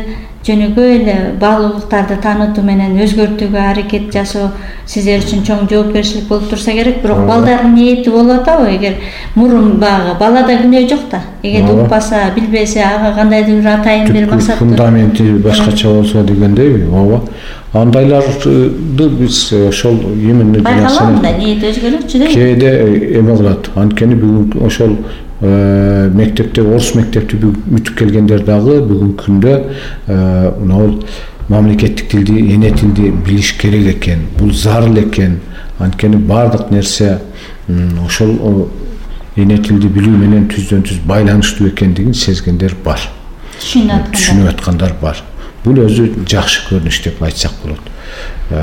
жөнөкөй эле баалуулуктарды таанытуу менен өзгөртүүгө аракет жасоо сиздер үчүн чоң жоопкерчилик болуп турса керек. Бирок балдардын ниети болуп атабы? Эгер мурун багы балада күнөө жок да, эгер укпаса, билбесе, ага кандайдыр бир атайын бир максат, фундаменти башкача болсо дегендейби? Ооба. Андайларды биз ошол именно байкалам да, ниет өзгөрөчү да. Кээде эме кылат. Анткени бүгүн ошол мектепте, орус мектепти бүтүп келгендер дагы бүгүнкү күндө мынау мамлекеттик тилди, эне тилди билиш керек экен, бул зарыл экен. Анткени бардык нерсе ошол эне тилди билүү менен түздөн түз байланыштуу экендигин сезгендер бар. түшүнүп аткандар бар. Бул өзү жакшы көрүнүш деп айтсак болот.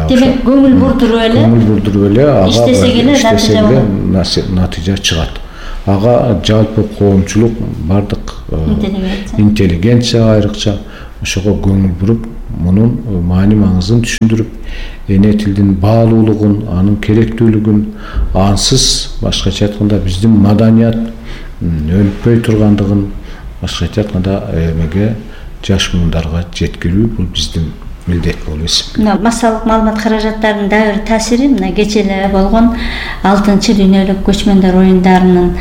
Демек көңүл бурдуруп эле көңүл бурдуруп эле ага иштесек эле натыйжа чыгат. Ага жалпы коомчулук бардык интеллигенция айрыкча ошого көңүл буруп, мунун маани маңызын түшүндүрүп, эне тилдин баалуулугун, анын керектүүлүгүн, ансыз башкача айтканда биздин маданият өлүппөй тургандыгын, башкача айтканда эмеге жаш муундарга жеткирүү бул биздин милдет болуп эсептелет. Массалык маалымат каражаттарынын дагы бир таасири мына кече эле болгон алтынчы дүйнөлүк көчмөндөр оюндарынын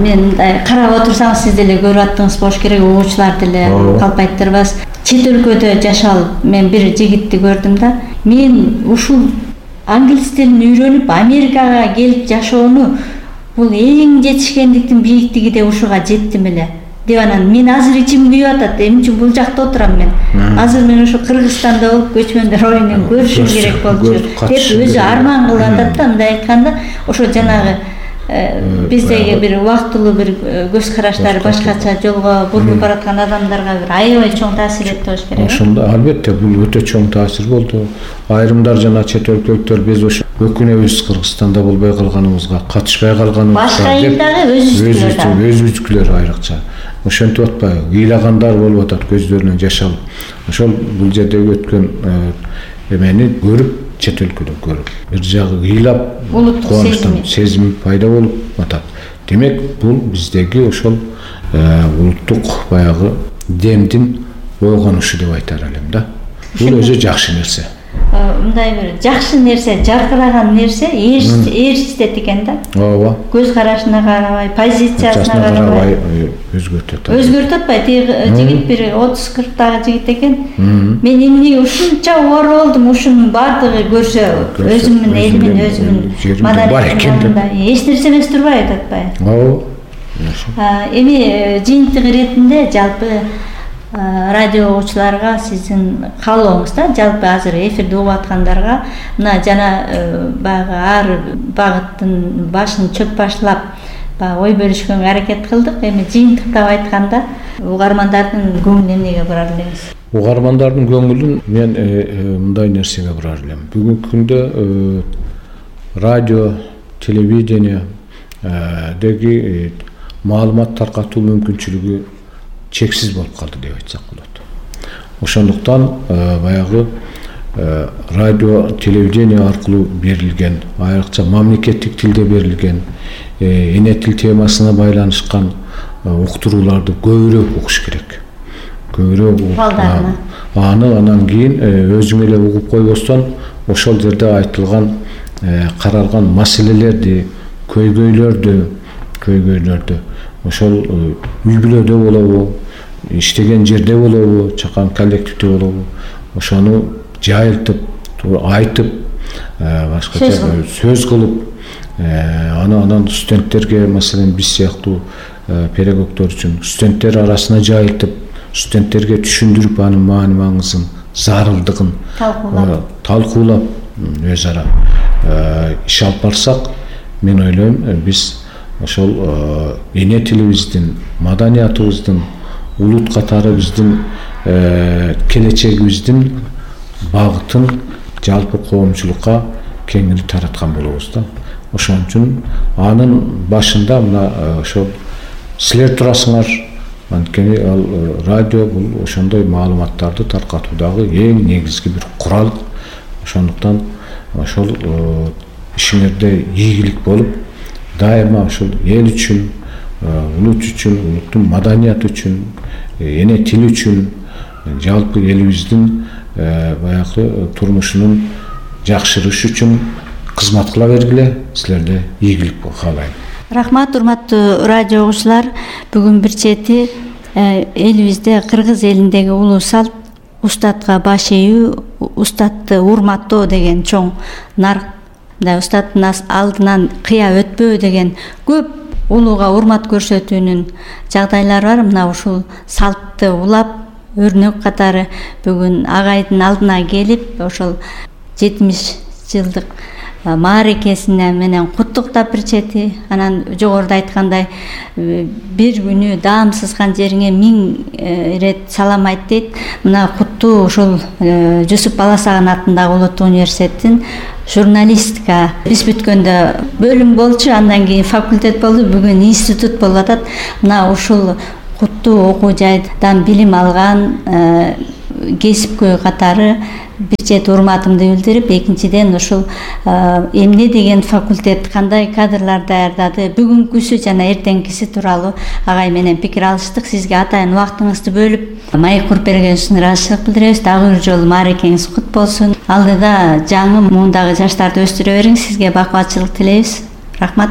мен мындай карап отурсаңыз сиз деле көрүп аттыңыз болуш керек, угуучулар деле калп айттырбас. Чет өлкөдө жашалып мен бир жигитти көрдүм да, мен ушул англис тилин үйрөнүп Америкага келип жашоону бул эң жетишкендиктин бийиктиги деп ушуга жеттим эле деп анан мен азыр ичим күйүп атат. Эмне үчүн бул жакта отурам мен? Азыр мен ошо Кыргызстанда болуп көчмөндөр оюнун көрүшүм керек болчу деп өзү арман кылып атат да. Мындай айтканда ошо жанагы биздеги бир убактылуу бир көз караштары башкача жолго бурулуп бараткан адамдарга бир аябай чоң таасир этти болуш керек. Ошондо албетте бул өтө чоң таасир болду. Айрымдар жана чет өлкөлүктөр биз ошо өкүнөбүз Кыргызстанда болбой калганыбызга, катышпай калганыбызга. Башка элдеги өзүбүздүкүлөр өзүбүздүкүлөр айрыкча. Ошентип атпайбы? Ыйлагандар болуп атат көздөрүнөн жаш алып. Ошол бул жердеги өткөн эмени көрүп, чет өлкөдө көрүп, бир жагы ыйлап, кубанычтан сезим пайда болуп атат. Демек, бул биздеги ошол улуттук баягы демдин ойгонушу деп айтар элем да. Бул өзү жакшы нерсе. Мындай бир жакшы нерсе, жаркыраган нерсе ээрчитет экен да. Ооба. Көз карашына карабай, позициясына карабай өзгөртөт. Өзгөртүп атпайбы? Тиги жигит бир отуз кырктагы жигит экен. Мен эмне ушунча оор болдум, ушунун бардыгы көрсө, өзүмдүн элимин, өзүмдүн маданиятымды эч нерсе эмес турбай атпайбы? Ооба. Эми жыйынтык иретинде жалпы радио угуучуларга сиздин каалооңуз да, жалпы азыр эфирде угуп аткандарга мына жана баягы ар багыттын башын чөп башлап баягы ой бөлүшкөнгө аракет кылдык. Эми жыйынтыктап айтканда угармандардын көңүлүн эмнеге бурар элеңиз? Угармандардын көңүлүн мен мындай нерсеге бурар элем. Бүгүнкү күндө радио, телевидение деги маалымат таркатуу мүмкүнчүлүгү чексиз болуп калды деп айтсак болот. Ошондуктан баягы радио, телевидение аркылуу берилген, айрыкча мамлекеттик тилде берилген, эне тил темасына байланышкан уктурууларды көбүрөөк угуш керек. Көбүрөөк угуп, аны анан кийин өзүң эле угуп койбостон ошол жерде айтылган, каралган маселелерди, көйгөйлөрдү, көйгөйлөрдү ошол үй бүлөдө болобу, иштеген жерде болобу, чакан коллективде болобу, ошону жайылтып, айтып, башкача сөз кылып, аны анан студенттерге, маселен биз сыяктуу педагогдор үчүн студенттер арасына жайылтып, студенттерге түшүндүрүп, анын маани маңызын, зарылдыгын талкуулап, өз ара иш алып барсак, мен ойлойм, биз ошол эне тилибиздин, маданиятыбыздын, улут катары биздин келечегибиздин багытын жалпы коомчулукка кеңири тараткан болобуз да. Ошон үчүн анын башында мына ошол силер турасыңар. Анткени ал радио бул ошондой маалыматтарды таркатуудагы эң негизги бир курал. Ошондуктан ошол ишиңерде ийгилик болуп, дайыма ошол эл үчүн, улут үчүн, улуттун маданияты үчүн, эне тил үчүн, жалпы элибиздин баягы турмушунун жакшырышы үчүн кызмат кыла бергиле. Силерде ийгилик каалайм. Рахмат, урматтуу радио угуучулар. Бүгүн бир чети элибизде, кыргыз элиндеги улуу салт устатка баш ийүү, устатты урматтоо деген чоң нарк, устаттын алдынан кыя өтпөө деген көп улууга урмат көрсөтүүнүн жагдайлары бар. Мына ушул салтты улап, өрнөк катары бүгүн агайдын алдына келип, ошол жетимиш жылдык мааракесине менен куттуктап бир чети. Анан жогоруда айткандай бир күнү даам сызган жериңе миң ирет салам айт дейт. Мына куттуу ушул Жусуп Баласагын атындагы улуттук университеттин журналистика биз бүткөндө бөлүм болчу, андан кийин факультет болду, бүгүн институт болуп атат. Мына ушул куттуу окуу жайдан билим алган кесипкөй катары бир чети урматымды билдирип, экинчиден ушул эмне деген факультет, кандай кадрлар даярдады, бүгүнкүсү жана эртеңкиси тууралуу агай менен пикир алыштык. Сизге атайын убактыңызды бөлүп маек куруп бергениңиз үчүн ыраазычылык билдиребиз. Дагы бир жолу мааракеңиз кут болсун. Алдыда жаңы муундагы жаштарды өстүрө бериңиз. Сизге бакубатчылык тилейбиз. Рахмат.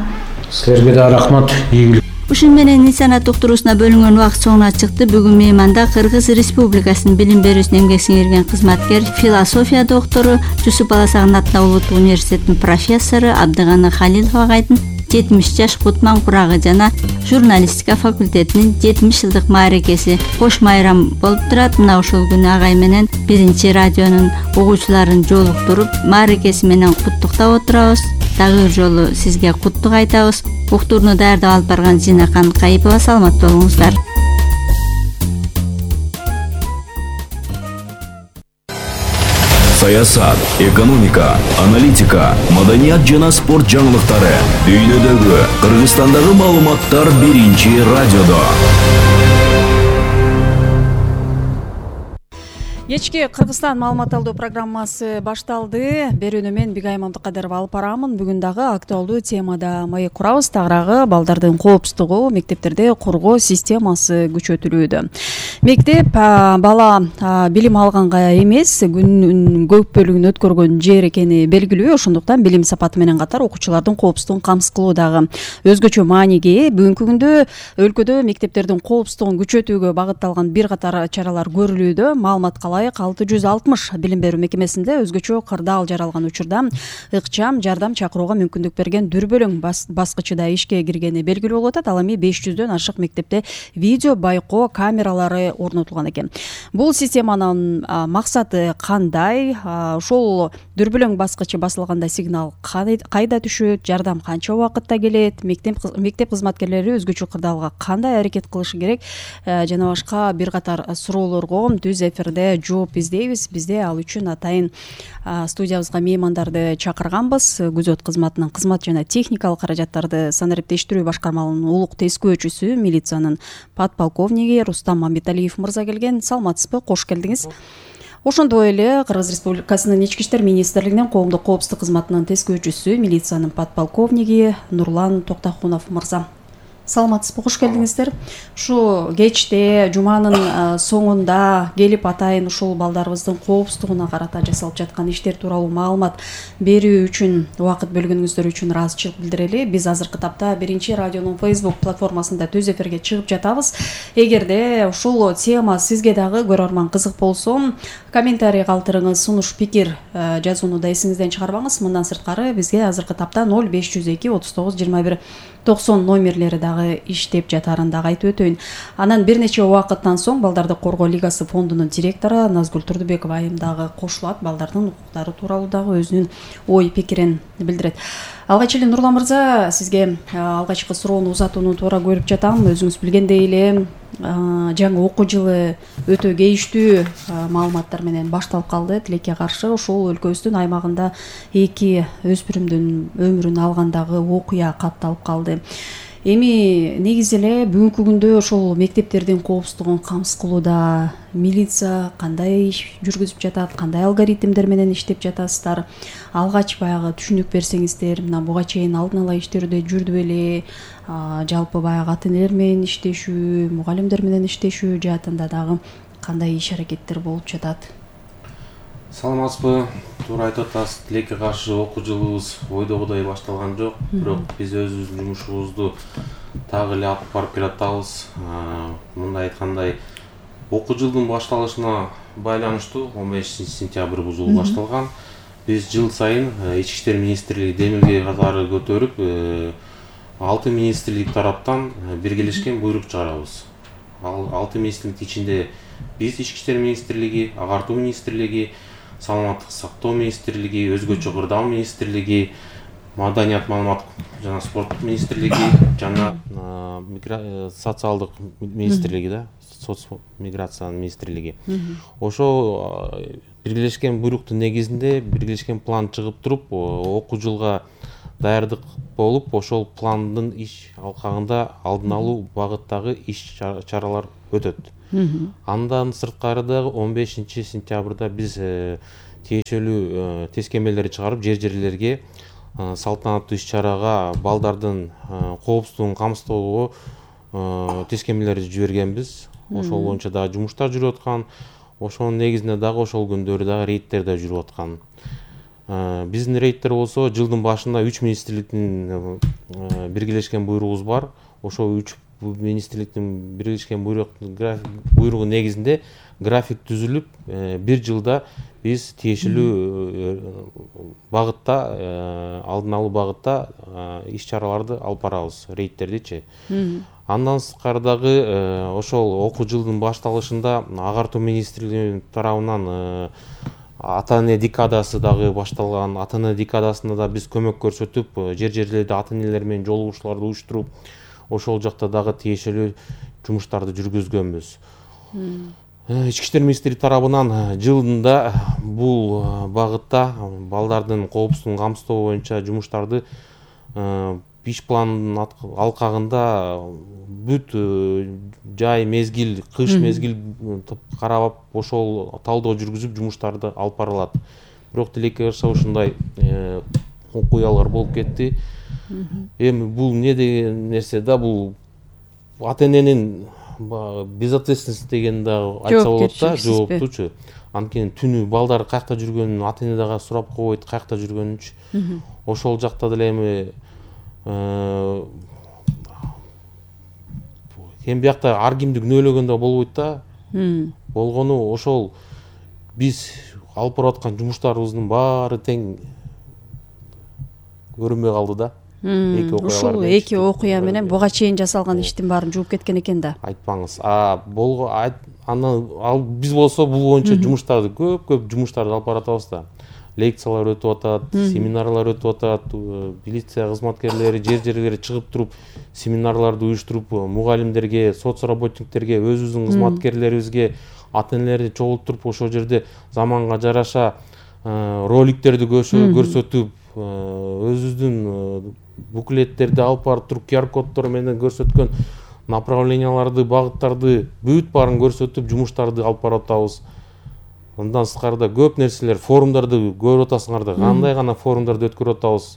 Силерге да рахмат. Ийгилик. Ушун менен Инсанат уктуруусуна бөлүнгөн убакыт соңуна чыкты. Бүгүн мейманда Кыргыз Республикасынын билим берүүсүнө эмгек сиңирген кызматкер, философия доктору, Жусуп Баласагын атындагы улуттук университеттин профессору Абдыганы Халилов агайдын жетимиш жаш кутман курагы жана журналистика факультетинин жетимиш жылдык мааракеси кош майрам болуп турат. Мына ушул күнү агай менен биринчи радионун угуучуларын жолуктуруп мааракеси менен куттуктап отурабыз. Дагы бир жолу сизге куттук айтабыз. Уктурууну даярдап алып барган Зинакан Кайыпова. Саламат болуңуздар. Саясат, экономика, аналитика, маданият жана спорт жаңылыктары, дүйнөдөгү, Кыргызстандагы маалыматтар биринчи радиодо. Кечки Кыргызстан маалымат алуу программасы башталды. Берүүнү мен Бигай Мамдыкадырова алып барамын. Бүгүн дагы актуалдуу темада маек курабыз. Тагыраагы балдардын коопсуздугу, мектептерде коргоо системасы күчөтүлүүдө. Мектеп бала билим алганга эмес, күнүнүн көп бөлүгүн өткөргөн жер экени белгилүү. Ошондуктан билим сапаты менен катар окуучулардын коопсуздугун камсыз кылуу дагы өзгөчө мааниге. Бүгүнкү күндө өлкөдө мектептердин коопсуздугун күчөтүүгө багытталган бир катар чаралар көрүлүүдө. Маалыматка алты жүз алтымыш билим берүү мекемесинде өзгөчө кырдаал жаралган учурда ыкчам жардам чакырууга мүмкүндүк берген дүрбөлөң баскычыда ишке киргени белгилүү болуп атат. Ал эми беш жүздөн ашык мектепте видео байкоо камералары орнотулган экен. Бул системанын максаты кандай? Ошол дүрбөлөң баскычы басылганда сигнал кайда түшөт, жардам канча убакытта келет, мектеп мектеп кызматкерлери өзгөчө кырдаалга кандай аракет кылышы керек жана башка бир катар суроолорго түз эфирде жооп издейбиз. Бизде ал үчүн атайын студиябызга меймандарды чакырганбыз. Күзөт кызматынын кызмат жана техникалык каражаттарды санариптештирүү башкармалынын улук тескөөчүсү, милициянын подполковниги Рустам Мамбеталиев мырза келген. Саламатсызбы? Кош келдиңиз. Ошондой эле Кыргыз Республикасынын ички иштер министрлигинин коомдук коопсуздук кызматынын тескөөчүсү, милициянын подполковниги Нурлан Токтохунов мырза. Саламатсызбы? Кош келдиңиздер. Ушу кечте жуманын соңунда келип атайын ушул балдарыбыздын коопсуздугуна карата жасалып жаткан иштер тууралуу маалымат берүү үчүн убакыт бөлгөнүңүздөр үчүн ыраазычылык билдирели. Биз азыркы тапта биринчи радионун Facebook платформасында түз эфирге чыгып жатабыз. Эгерде ушул тема сизге дагы көрөрман кызык болсо, комментарий калтырыңыз, сунуш пикир жазууну да эсиңизден чыгарбаңыз. Мындан сырткары бизге азыркы тапта ноль беш жүз эки отуз тогуз жыйырма бир токсон номерлери дагы иштеп жатарын дагы айтып өтөйүн. Анан бир нече убакыттан соң Балдарды коргоо лигасы фондунун директору Назгүл Турдубекова айым дагы кошулат, балдардын укуктары тууралуу дагы өзүнүн ой пикирин билдирет. Алгач эле Нурлан мырза, сизге алгачкы суроону узатууну туура көрүп жатам. Өзүңүз билгендей эле жаңы окуу жылы өтө кейиштүү маалыматтар менен башталып калды. Тилекке каршы ошол өлкөбүздүн аймагында эки өспүрүмдүн өмүрүн алгандагы окуя катталып калды. Эми негизи эле бүгүнкү күндө ошол мектептердин коопсуздугун камсыз кылууда милиция кандай иш жүргүзүп жатат, кандай алгоритмдер менен иштеп жатасыздар? Алгач баягы түшүнүк берсеңиздер, мына буга чейин алдын ала иштерде жүрдү беле, жалпы баягы ата-энелер менен иштешүү, мугалимдер менен иштешүү жаатында дагы кандай иш аракеттер болуп жатат? Саламатсызбы? Туура айтып атасыз. Тилекке каршы окуу жылыбыз ойдогудай башталган жок, бирок биз өзүбүздүн жумушубузду дагы эле алып барып келатабыз. Мындай айткандай, окуу жылдын башталышына байланыштуу он бешинчи сентябрь жылы башталган. Биз жыл сайын ички иштер министрлиги демилге катары көтөрүп, алты министрлик тараптан биргелешкен буйрук чыгарабыз. Ал алты министрликтин ичинде биз ички иштер министрлиги, агартуу министрлиги, саламаттык сактоо министрлиги, өзгөчө кырдал министрлиги, маданият, маалымат жана спорт министрлиги жана социалдык министрлиги да, соц миграция министрлиги. Ошол биргелешкен буйруктун негизинде биргелешкен план чыгып туруп, окуу жылга даярдык болуп, ошол пландын иш алкагында алдын алуу багыттагы иш чаралар өтөт. Андан сырткары дагы он бешинчи сентябрда биз тиешелүү тескемелерди чыгарып, жер-жерлерге салтанаттуу иш-чарага балдардын коопсуздугун камсыздоого тескемелерди жибергенбиз. Ошол боюнча дагы жумуштар жүрүп аткан. Ошонун негизинде дагы ошол күндөрү дагы рейдтер да жүрүп аткан. Биздин рейдтер болсо жылдын башында үч министрликтин биргелешкен буйругубуз бар. Ошол үч министрликтин биргелешкен буйругу негизинде график түзүлүп, бир жылда биз тиешелүү багытта, алдын алуу багытта иш-чараларды алып барабыз, рейдтердичи. Андан сырткары дагы ошол окуу жылдын башталышында агартуу министрлиги тарабынан ата-эне декадасы дагы башталган. Ата-эне декадасында да биз көмөк көрсөтүп, жер-жерлерде ата-энелер менен жолугушууларды уюштуруп, ошол жакта дагы тиешелүү жумуштарды жүргүзгөнбүз. Ички иштер министрлиги тарабынан жылында бул багытта балдардын коопсуздугун камсыздоо боюнча жумуштарды иш планынын алкагында бүт жай мезгил, кыш мезгил карап, ошол талдоо жүргүзүп жумуштарды алып барылат. Бирок тилекке каршы ушундай окуялар болуп кетти. Эми бул не деген нерсе да, бул ата-эненин безответственность деген дагы айтса болот да, жооптучу. Анткени түнү балдар каякта жүргөнүн ата-эне дагы сурап койбойт, каякта жүргөнүнчү. Ошол жакта деле эми эми биякта ар кимди күнөөлөгөн да болбойт да. Болгону ошол биз алып барып аткан жумуштарыбыздын баары тең көрүнбөй калды да. Ушул эки окуя менен буга чейин жасалган иштин баарын жууп кеткен экен да. Айтпаңыз. А болго анан ал биз болсо бул боюнча жумуштарды көп-көп жумуштарды алып баратабыз да. Лекциялар өтүп атат, семинарлар өтүп атат, милиция кызматкерлери жер-жерлерге чыгып туруп семинарларды уюштуруп, мугалимдерге, соцработниктерге, өзүбүздүн кызматкерлерибизге, ата-энелерди чогултуруп, ошол жерде заманга жараша роликтерди көрсөтүп, өзүбүздүн буклеттерди алып барып туруп, ку ар коддор менен көрсөткөн направленияларды, багыттарды бүт баарын көрсөтүп, жумуштарды алып барып атабыз. Андан сырткары көп нерселер, форумдарды көрүп атасыңар да, кандай гана форумдарды өткөрүп атабыз.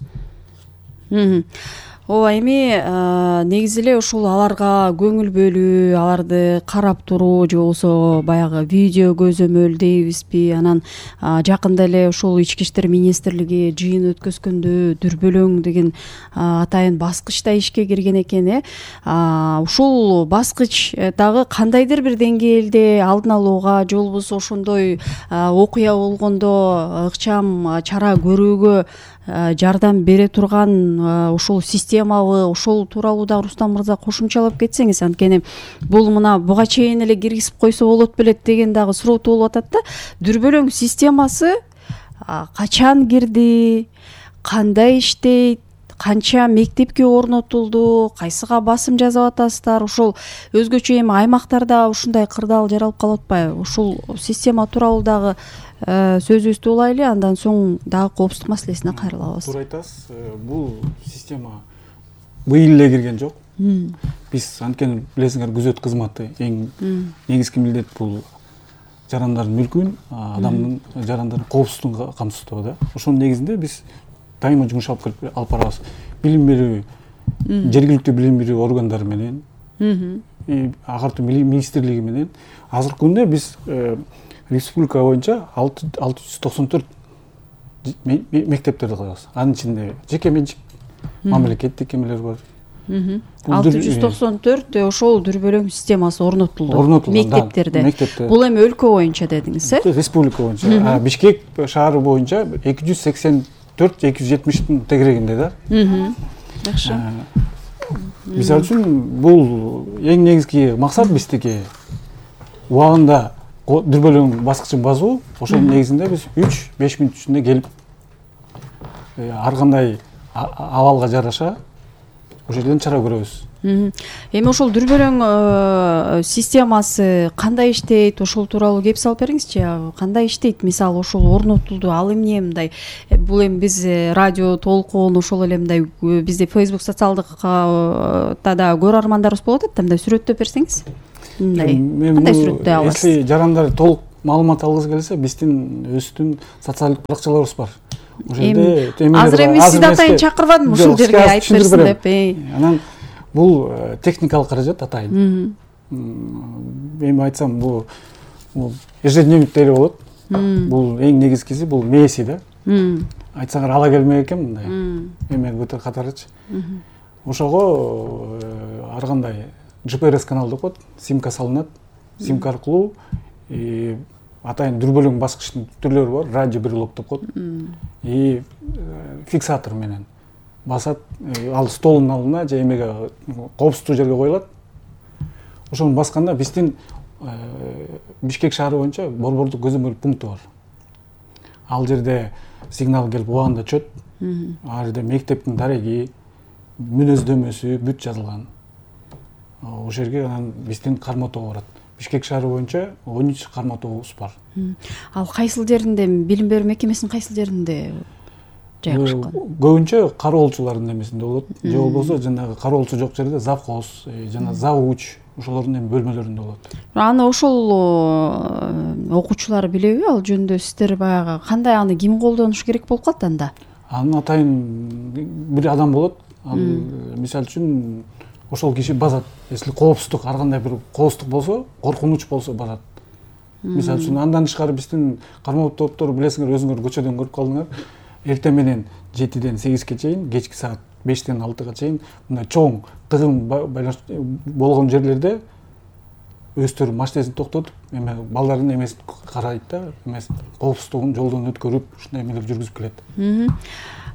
Ооба, эми негизи эле ушул аларга көңүл бөлүү, аларды карап туруу же болбосо баягы видео көзөмөл дейбизби, анан жакында эле ушул ички иштер министрлиги жыйын өткөзгөндө дүрбөлөң деген атайын баскыч да ишке кирген экен. э Ушул баскыч дагы кандайдыр бир деңгээлде алдын алууга же болбосо ошондой окуя болгондо ыкчам чара көрүүгө жардам бере турган ушул системабы, ошол тууралуу да Рустам мырза кошумчалап кетсеңиз, анткени бул мына буга чейин эле киргизип койсо болот белек деген дагы суроо болуп атат да. Дүрбөлөң системасы качан кирди, кандай иштейт, канча мектепке орнотулду, кайсыга басым жасап атасыздар? Ошол өзгөчө эми аймактарда ушундай кырдаал жаралып калып атпайбы? Ушул система тууралуу дагы сөзүбүздү улайлы, андан соң дагы коопсуздук маселесине кайрылабыз. Туура айтасыз. Бул система быйыл эле кирген жок. Биз анткени билесиңер, күзөт кызматы эң негизги милдет бул жарандардын мүлкүн, адамдын жарандардын коопсуздугун камсыздоо да. Ошонун негизинде биз дайыма жумуш алып алып барабыз. Билим берүү, жергиликтүү билим берүү органдары менен, агартуу министрлиги менен азыркы күндө биз республика боюнча алты жүз токсон төрт мектептерди коебуз. Анын ичинде жеке менчик, мамлекеттик эмелер бар. алты жүз токсон төрт ошол дүрбөлөң системасы орнотулду мектептерде. Бул эми өлкө боюнча дедиңиз, э? Республика боюнча. Бишкек шаары боюнча эки жүз сексен төрт эки жүз жетимиштин тегерегинде да. Жакшы. Мисалы үчүн бул эң негизги максат биздики убагында дүрбөлөң баскычын басуу, ошонун негизинде биз үч беш мүнөт ичинде келип ар кандай абалга жараша ошол жерден чара көрөбүз. Эми ошол дүрбөлөң системасы кандай иштейт, ошол тууралуу кеп салып бериңизчи. Кандай иштейт? Мисалы ошол орнотулду, ал эмне мындай? Бул эми биз радио толкун, ошол эле мындай бизде Facebook социалдык да көрөрмандарыбыз болот да, мындай сүрөттөп берсеңиз. Мындай кандай сүрөттөй аласыз? Если жарандар толук маалымат алгысы келсе, биздин өзүбүздүн социалдык баракчаларыбыз бар. Эми азыр эми сизди атайын чакырбадым ушул жерге айтып берсин деп. Анан бул техникалык каражат атайын. Эми айтсам, бул ежедневник деле болот. Бул эң негизгиси бул мээси да. Айтсаңар ала келмек экен мындай. Эме көтөр катарычы. Ошого ар кандай джи пи эр эс канал деп коет, симка салынат. Симка аркылуу атайын дүрбөлөң баскычтын түрлөрү бар, радиоприлог деп коет. И фиксатор менен басат, ал столдун алдына же эмеге коопсуздуу жерге коюлат. Ошону басканда биздин Бишкек шаары боюнча борбордук көзөмөл пункту бар. Ал жерде сигнал келип убагында чөт. Ал жерде мектептин дареги, мүнөздөмөсү бүт жазылган. Ошол жерге анан биздин карма тобу барат. Бишкек шаары боюнча он үч карма тобубуз бар. Ал кайсыл жеринде, билим берүү мекемесинин кайсыл жеринде жайгашкан? Көбүнчө кароолчулардын эмесинде болот. Же болбосо жанагы кароолчу жок жерде завхоз, жана завуч ошолордун эми бөлмөлөрүндө болот. Аны ошол окуучулар билеби? Ал жөнүндө сиздер баягы кандай, аны ким колдонуш керек болуп калат анда? Аны атайын бир адам болот. Ал мисалы үчүн ошол киши басат. Если коопсуздук, ар кандай бир коопсуздук болсо, коркунуч болсо басат. Мисалы үчүн андан тышкары биздин кармоо топтору билесиңер, өзүңөр көчөдөн көрүп калдыңар. Эртең менен жетиден сегизге чейин, кечки саат бештен алтыга чейин мындай чоң тыгын болгон жерлерде өздөрү машинесин токтотуп, эме балдардын эмесин карайт да, эмес коопсуздугун жолдон өткөрүп, ушундай эмелер жүргүзүп келет.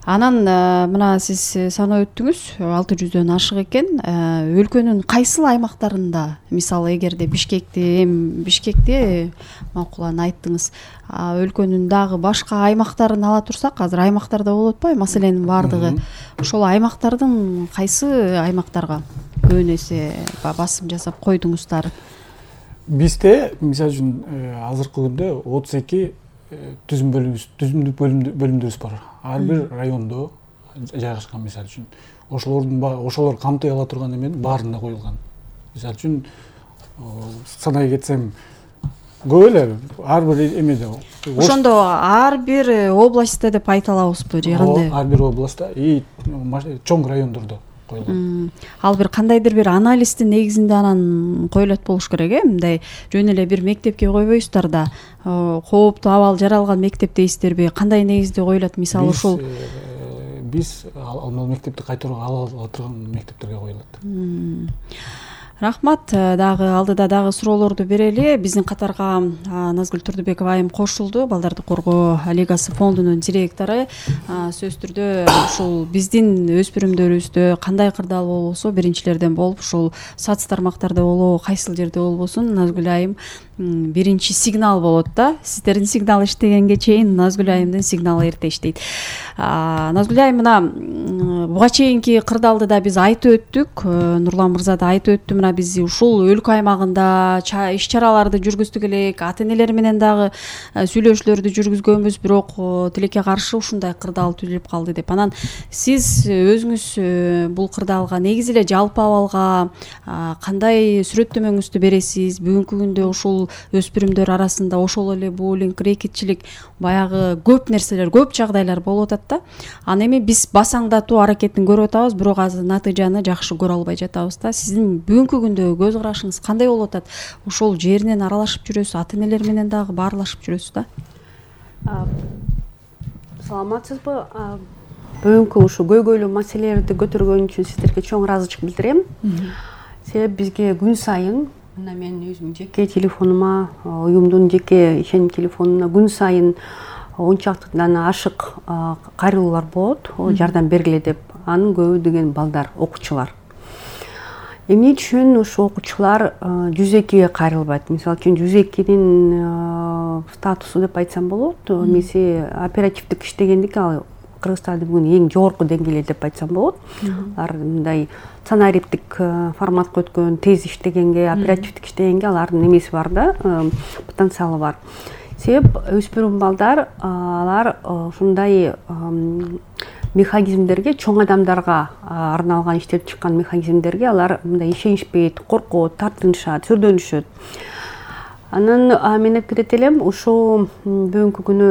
Анан мына сиз саноо өттүңүз, алты жүздөн ашык экен. Өлкөнүн кайсыл аймактарында, мисалы эгерде Бишкекте, эми Бишкекте макулан айттыңыз, өлкөнүн дагы башка аймактарын ала турсак, азыр аймактарда болуп атпайбы маселенин баардыгы? Ошол аймактардын кайсы аймактарга көбүн эсе басым жасап койдуңуздар? Бизде, мисалы үчүн, азыркы күндө отуз эки түзүмдүк бөлүмдөрүбүз бар. Ар бир райондо жайгашкан, мисалы үчүн. Ошолордун ошолор камтый ала турган эменин баарында коюлган. Мисалы үчүн, санай кетсем, көп эле ар бир эмеде. Ошондо ар бир областта деп айта алабызбы же кандай? Ар бир областта и чоң райондордо коюлган. Ал бир кандайдыр бир анализдин негизинде анан коюлат болуш керек, э? Мындай жөн эле бир мектепке койбойсуздар да. Кооптуу абал жаралган мектеп дейсиздерби? Кандай негизде коюлат? Мисалы ушул биз ал мектепти кайтарууга ала турган мектептерге коюлат. Рахмат. Дагы алдыда дагы суроолорду берели. Биздин катарга Назгүл Турдубекова айым кошулду. Балдарды коргоо лигасы фондунун директору. Сөз түрдө ушул биздин өспүрүмдөрүбүздө кандай кырдаал болбосо, биринчилерден болуп, ушул соц тармактарда болобу, кайсыл жерде болбосун, Назгүл айым биринчи сигнал болот да. Сиздердин сигнал иштегенге чейин Назгүл айымдын сигналы эрте иштейт. Назгүл айым, мына буга чейинки кырдаалды да биз айтып өттүк. Нурлан мырза да айтып өттү. Мына биз ушул өлкө аймагында иш чараларды жүргүздүк элек, ата энелер менен дагы сүйлөшүүлөрдү жүргүзгөнбүз, бирок тилекке каршы ушундай кырдаал түзүлүп калды деп. Анан сиз өзүңүз бул кырдаалга негизи эле жалпы абалга кандай сүрөттөмөңүздү бересиз? Бүгүнкү күндө ушул өспүрүмдөр арасында ошол эле буллинг, рэкетчилик, баягы көп нерселер, көп жагдайлар болуп атат да. Аны эми биз басаңдатуу аракетин көрүп атабыз, бирок азыр натыйжаны жакшы көрө албай жатабыз да. Сиздин бүгүнкү күндө көз карашыңыз кандай болуп атат? Ошол жеринен аралашып жүрөсүз, ата энелер менен дагы баарлашып жүрөсүз да. Саламатсызбы? Бүгүнкү ушу көйгөйлүү маселелерди көтөргөн үчүн сиздерге чоң ыраазычылык билдирем. Себеби бизге күн сайын, мына мен өзүм жеке телефонума, уюмдун жеке ишеним телефонуна күн сайын он чактыдан ашык кайрылуулар болот, жардам бергиле деп. Анын көбү деген балдар, окуучулар. эмне үчүн ушу окуучулар жүз экиге кайрылбайт? Мисалы үчүн жүз экинин статусу деп айтсам болот. Эмеси оперативдик иштегендик ал Кыргызстанда бүгүн эң жогорку деңгээлде деп айтсам болот. Алар мындай сценариптик форматка өткөн, тез иштегенге, оперативдик иштегенге алардын эмеси бар да, потенциалы бар. Себеп өспүрүм балдар алар ушундай механизмдерге, чоң адамдарга арналган иштелип чыккан механизмдерге алар мындай ишенишпейт, коркот, тартынышат, сүрдөнүшөт. Анан мен айтып кетет элем, ушу бүгүнкү күнү